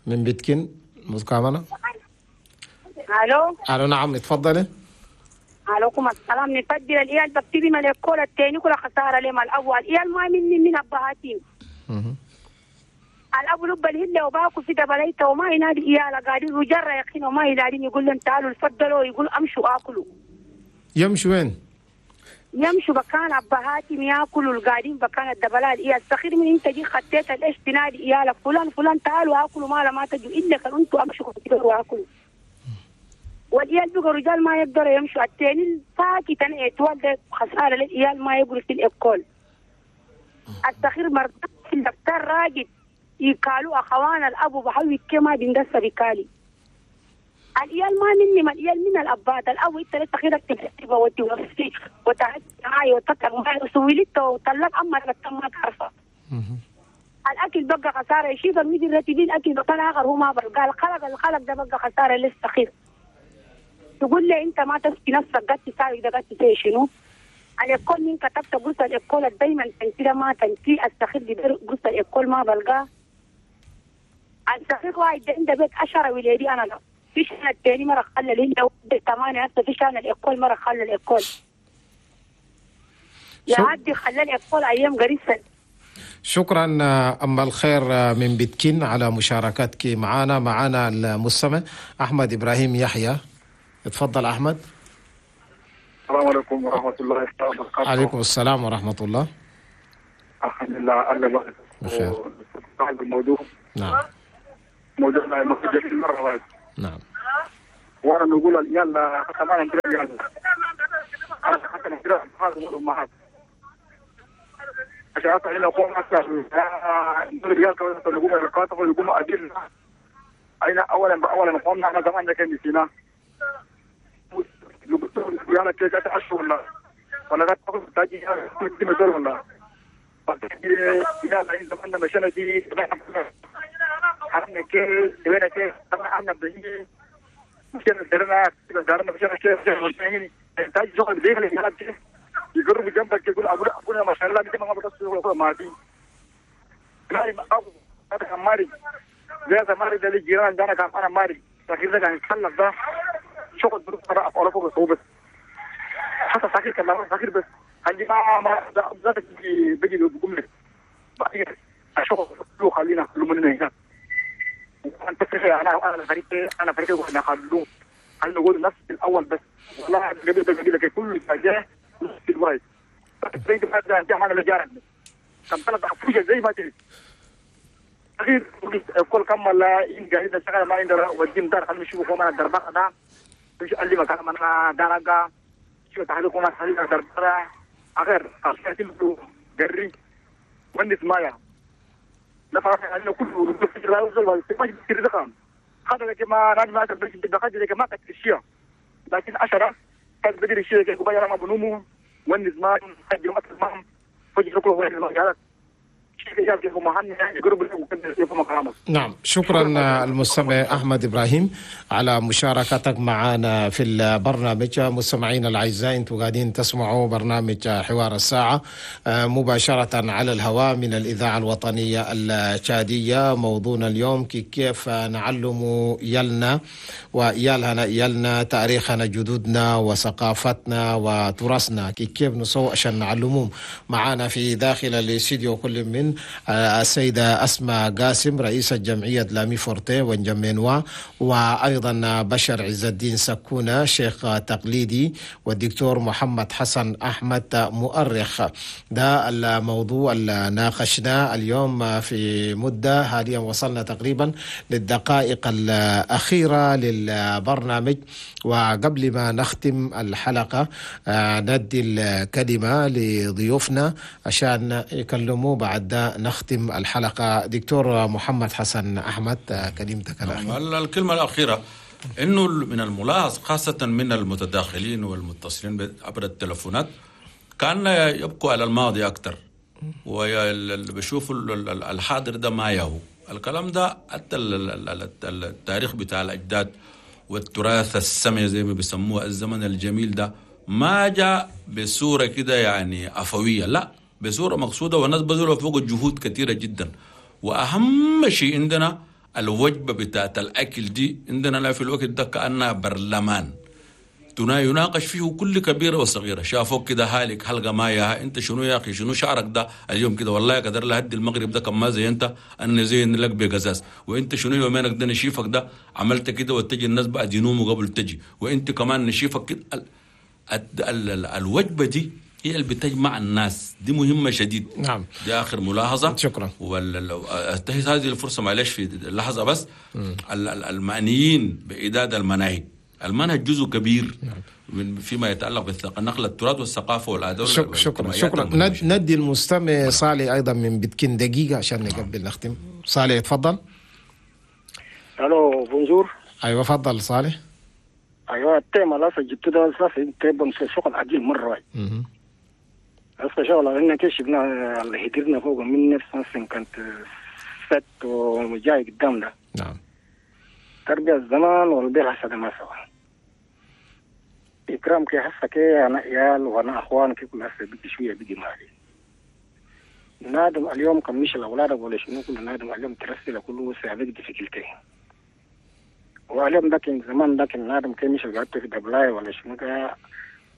من بيتكين مكامنة. الو. الو، نعم اتفضلي. عليكم السلام. نفضل الإيال بكتبي من الكول الثاني كل خسارة لما الأول إيال ما مني من أبهاتين. الأب لب الهلة وباكو في دبليته وما ينادي إيالا قاعدين وجرى يقين وما ينادين، يقول لهم تعالوا تفضلوا، يقول أمشوا آكلوا. يمشوا وين؟ يمشوا بكان أبهاتهم ياكلوا القاعدين بكان الدبلال. إيال صغير من أنت جي خطيت الإيش تنادي إيالا فلان فلان تعالوا آكلوا، ما ما تجوا إلا كان أنتوا أمشوا وآكلوا. والإيال بقوا رجال ما يقدروا يمشوا. التاني ساكت أنا اتولد خسارة للإيال ما يقولوا في الإكل. الصغير مرض في الدكتور راجل يقالوا أخوان الأب بحوي كما بندس بكالي. الإيال ما مني، ما الإيال من الأباد. الأب أنت لسه خيرك تكتبه وتوفي وتعدي معي وتطلع معي وسويلته وطلق أما ما تعرفه. الأب الاكل بقى خسارة، يشيل المدير رتبين الاكل بقى اخر هو ما بلقى الخلق، الخلق ده بقى خسارة للصغير. تقول لي انت ما تسكي نفسك قد تساوي ده قد تساوي شنو؟ الإكول من كتبت قلت الإكول دايما تنسي ما تنسي الصغير دي قلت الإكول ما بلقاه. الصغير واحد عنده بيت 10 ولادي انا لا في شان الثاني مرة خلى لي 8 هسه في شان الإكول مرة خلى الإكول يعدي خلى الإكول ايام قريب. شكرا أم الخير من بتكين على مشاركتك معنا. معنا المستمع أحمد إبراهيم يحيى، اتفضل أحمد. السلام عليكم ورحمة الله وبركاته. عليكم السلام ورحمة الله. الحمد لله الله بخير. الموضوع نعم موضوع مرة واحدة. نعم وانا نقول يلا كمان يلا حتى نقرا هذا الامهات عشان إلى قوم أكثر الرجال كانوا يقوموا القاطف ويقوموا أدلة أين أولا بأولا قومنا أنا زمان كان نسينا يلا كيف أتعشوا ولا لا تأخذ تاجي كل ولا يلا إن زماننا مشينا دي حنا كيف سوينا كيف طبعا بنيجي مشينا درنا مشينا كيف تاجي شغل زي اللي كيف يقرب جنبك يقول ابونا ما شاء الله دي ما بتصير ولا ما دي لا ما ابو هذا ماري زي ماري ده الجيران ده انا كان انا ماري لكن ده كان يتخلف ده شغل بروح على فوق بس حتى ساكر كان ساكر بس عندي ما ذاتك بيجي بيقوم لك بعدين الشغل كله خلينا كله من هنا انت تفرق انا فريق انا فريق واحنا خلوه خلينا نقول نفس الاول بس والله قبل ده كل حاجة نفس الواحد تريد هذا انت معنا الجار كم ثلاث افوجة زي ما تريد اخير كل كم ولا ان قاعد شغال ما عندنا وديم دار خلينا نشوف ما دربا ده مش اللي ما كان انا دارغا شو تحلكم ما خلينا دربا اخر اخر جري ونس مايا نفر انه كله ما يصير دخان هذا كما انا ما دخلت ما كتشيا لكن 10 كان بدري الشيء كي ما بنومو ونس ما حد ما فجر كله هو نعم شكرا المستمع أحمد إبراهيم على مشاركتك معنا في البرنامج. مستمعين الأعزاء أنتم قاعدين تسمعوا برنامج حوار الساعة مباشرة على الهواء من الإذاعة الوطنية التشادية. موضوعنا اليوم كيف نعلم يلنا ويالنا يلنا تاريخنا جدودنا وثقافتنا وتراثنا، كيف نسوي عشان نعلمهم. معنا في داخل الاستديو كل من السيدة أسماء قاسم رئيسة جمعية لامي فورتي ونجمينوا، وأيضا بشر عز الدين سكونة شيخ تقليدي، والدكتور محمد حسن أحمد مؤرخ. ده الموضوع اللي ناقشناه اليوم في مدة. حاليا وصلنا تقريبا للدقائق الأخيرة للبرنامج، وقبل ما نختم الحلقة ندي الكلمة لضيوفنا عشان يكلموا بعد ده نختم الحلقة. دكتور محمد حسن أحمد، كلمتك الأخيرة. الكلمة الأخيرة إنه من الملاحظ خاصة من المتداخلين والمتصلين عبر التلفونات كان يبقوا على الماضي أكثر، وبشوفوا الحاضر ده ما يهو الكلام ده. حتى التاريخ بتاع الأجداد والتراث السمعي زي ما بيسموه الزمن الجميل ده ما جاء بصورة كده يعني عفوية، لا بصورة مقصودة، والناس بذلوا فوق جهود كثيرة جدا. وأهم شيء عندنا الوجبة بتاعت الأكل دي عندنا لا في الوقت ده كأنها برلمان يناقش فيه كل كبيرة وصغيرة. شافوك كده هالك حلقة ما ياها، انت شنو يا أخي، شنو شعرك ده اليوم كده، والله قدر لهدي المغرب ده كم ما زي انت أنا زين لك بقزاز، وانت شنو يومينك ده نشيفك ده عملت كده، وتجي الناس بعد ينوموا قبل تجي، وانت كمان نشيفك كده. الوجبة دي هي اللي بتجمع الناس، دي مهمة شديد. نعم، دي آخر ملاحظة. شكرا. انتهت هذه الفرصة معلش في اللحظة بس. المعنيين بإعداد المناهج، المنهج جزء كبير من فيما يتعلق بالنقل التراث والثقافة والآداب. شكرا شكرا. ندي المستمع صالح أيضا من بتكين دقيقة عشان نقبل نختم. صالح تفضل. الو bonjour. ايوه تفضل صالح. ايوه ال thème لا جبت ده صافي شغل عجيب مرة. هسه شغل لأن كشفنا اللي هدرنا فوق من 1957 الفات وجاي قدام ده. نعم. تربية الزمان والبيع هسه ما سوا. إكرام كي هسه كي أنا عيال وأنا أخوان كي كل هسه بيجي شوية بيجي مالي. نادم اليوم كم مش الأولاد ولا شنو كل نادم اليوم ترسل كله سابق difficulté. واليوم ده كان زمان ده كان نادم كي مش قعدت في دبلاي ولا شنو كا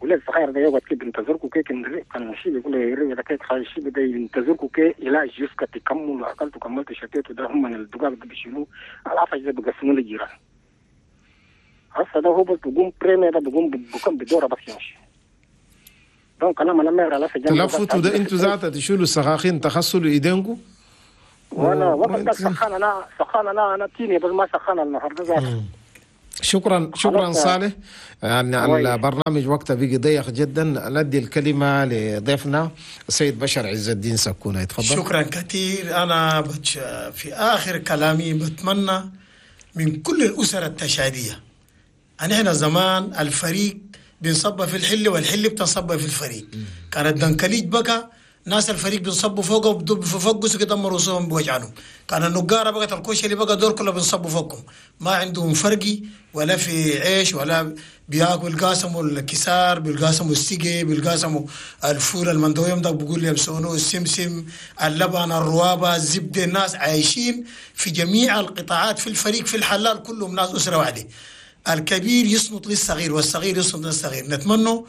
ولاد صغير ده يقعد كي بينتظركوا كي كان شيء بيقول يري ده كي خايش شيء بده ينتظركوا كي إلى جوسك تكملوا أكلتوا كملتوا شتيتوا ده هم من الدقاق ده بيشيلوا العفش ده بيقسموا للجيران. هسه ده هو بس بيقوم بريمي ده بيقوم بكم بدورة بس يمشي. donc أنا ما نمر على سجن. تلفتوا ده أنتوا ذاته تشيلوا السخاخين تغسلوا إيدينكم. وأنا وقت ده سخان أنا سخان أنا تيني بس ما سخان النهارده ذاته. شكرا شكرا صالح. يعني البرنامج وقته بقي ضيق جدا. ندي الكلمة لضيفنا السيد بشر عز الدين سكونة، يتفضل. شكرا كثير. أنا في آخر كلامي بتمنى من كل الأسر التشادية أن إحنا زمان الفريق بنصب في الحل والحل بتنصب في الفريق. كان الدنكليج بقى ناس الفريق بنصبوا فوقه وبفقسوا كده رؤوسهم بوجعنهم. كان النقاره بقت الكوشة اللي بقى دور كله بنصبوا فوقهم، ما عندهم فرقي ولا في عيش ولا بياكل قاسموا الكسار بالقاسموا السقي بالقاسموا الفول المندويم ده بيقول يمسونه السمسم اللبن الروابه الزبدة. الناس عايشين في جميع القطاعات في الفريق في الحلال كلهم ناس اسره واحدة. الكبير يصمت للصغير والصغير يصمت للصغير. نتمنى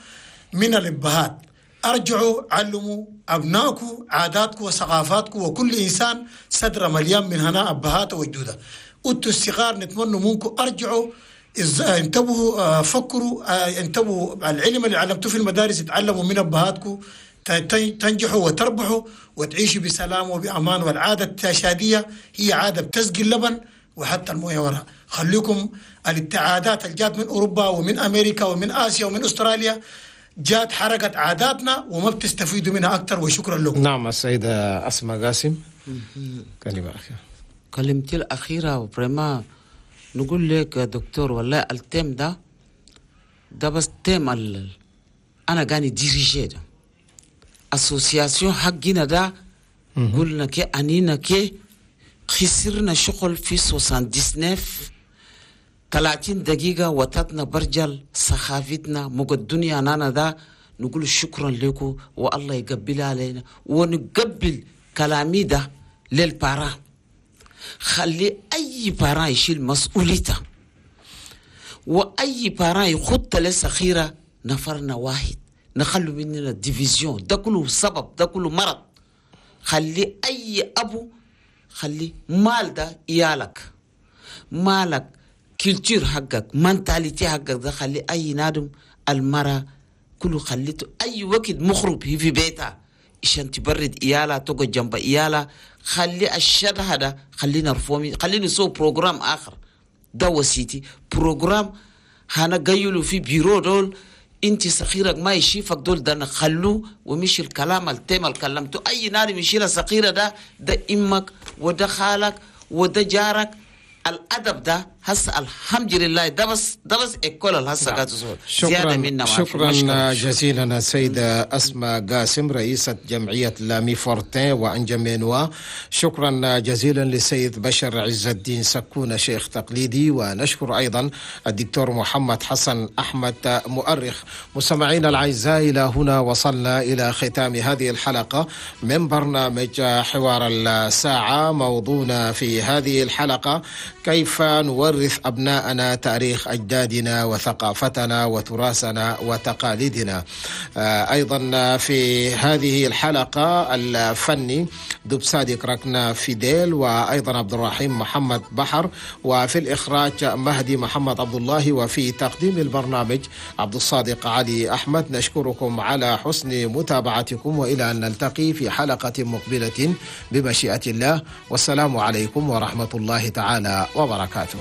من الابهات أرجعوا علموا أبنائكم عاداتكم وثقافاتكم، وكل إنسان صدره مليان من هنا أبهاته وجدوده. أنتوا الصغار نتمنى منكم أرجعوا انتبهوا، فكروا، انتبهوا العلم اللي علمتوه في المدارس تعلموا من أبهاتكم، تنجحوا وتربحوا وتعيشوا بسلام وبأمان. والعادة التشادية هي عادة بتسقي اللبن وحتى المويه وراء. خليكم الابتعادات اللي جات من أوروبا ومن أمريكا ومن آسيا ومن أستراليا جات حركت عاداتنا وما بتستفيدوا منها أكثر. وشكرا لكم. نعم السيدة أسماء قاسم، كلمة أخيرة. كلمتي الأخيرة vraiment نقول لك يا دكتور والله ال thème ده بس thème أنا قاني diriger ده association حقنا ده قلنا كي أنينا كي خسرنا شغل في 79 30 دقيقة وتتنا برجل سخافتنا مقدنيا نانا ده نقول شكرا لكم والله يقبل علينا ونقبل كلامي ده لل parents. خلي أي parent يشيل مسؤوليته وأي parent يخط لسخيرة نفرنا واحد نخلو مننا division ده كله سبب ده كله مرض. خلي أي أبو خلي مال ده إيالك مالك culture حقك mentalité حقك ده خلي أي نادم المرأة كله خليته أي وقت مخرب هي في بيتها عشان تبرد إيالها تقعد جنب إيالها. خلي الشر هذا خلينا نرفومي خلينا نسوي programme آخر ده وسيتي programme هنا جايلو في بيرو دول انت صغيرك ما يشيفك دول ده نخلوه ومش الكلام ال thème اللي كلمته اي نار يشيل صغيرة ده امك وده خالك وده جارك. الادب ده هسه الحمد لله ده بس école هسه قاعد شكرا شكرا جزيلا السيدة أسماء قاسم رئيسة جمعية لامي فورتين وأنجمينوا. شكرا جزيلا للسيد بشر عز الدين سكونة شيخ تقليدي، ونشكر أيضا الدكتور محمد حسن أحمد مؤرخ. مستمعينا الأعزاء إلى هنا وصلنا إلى ختام هذه الحلقة من برنامج حوار الساعة. موضوعنا في هذه الحلقة كيف نورث أبناءنا تاريخ أجدادنا وثقافتنا وتراثنا وتقاليدنا. أيضا في هذه الحلقة الفني دبسادي كركنا فيديل، وأيضا عبد الرحيم محمد بحر، وفي الإخراج مهدي محمد عبد الله، وفي تقديم البرنامج عبد الصادق علي أحمد. نشكركم على حسن متابعتكم، وإلى أن نلتقي في حلقة مقبلة بمشيئة الله، والسلام عليكم ورحمة الله تعالى وبركاته.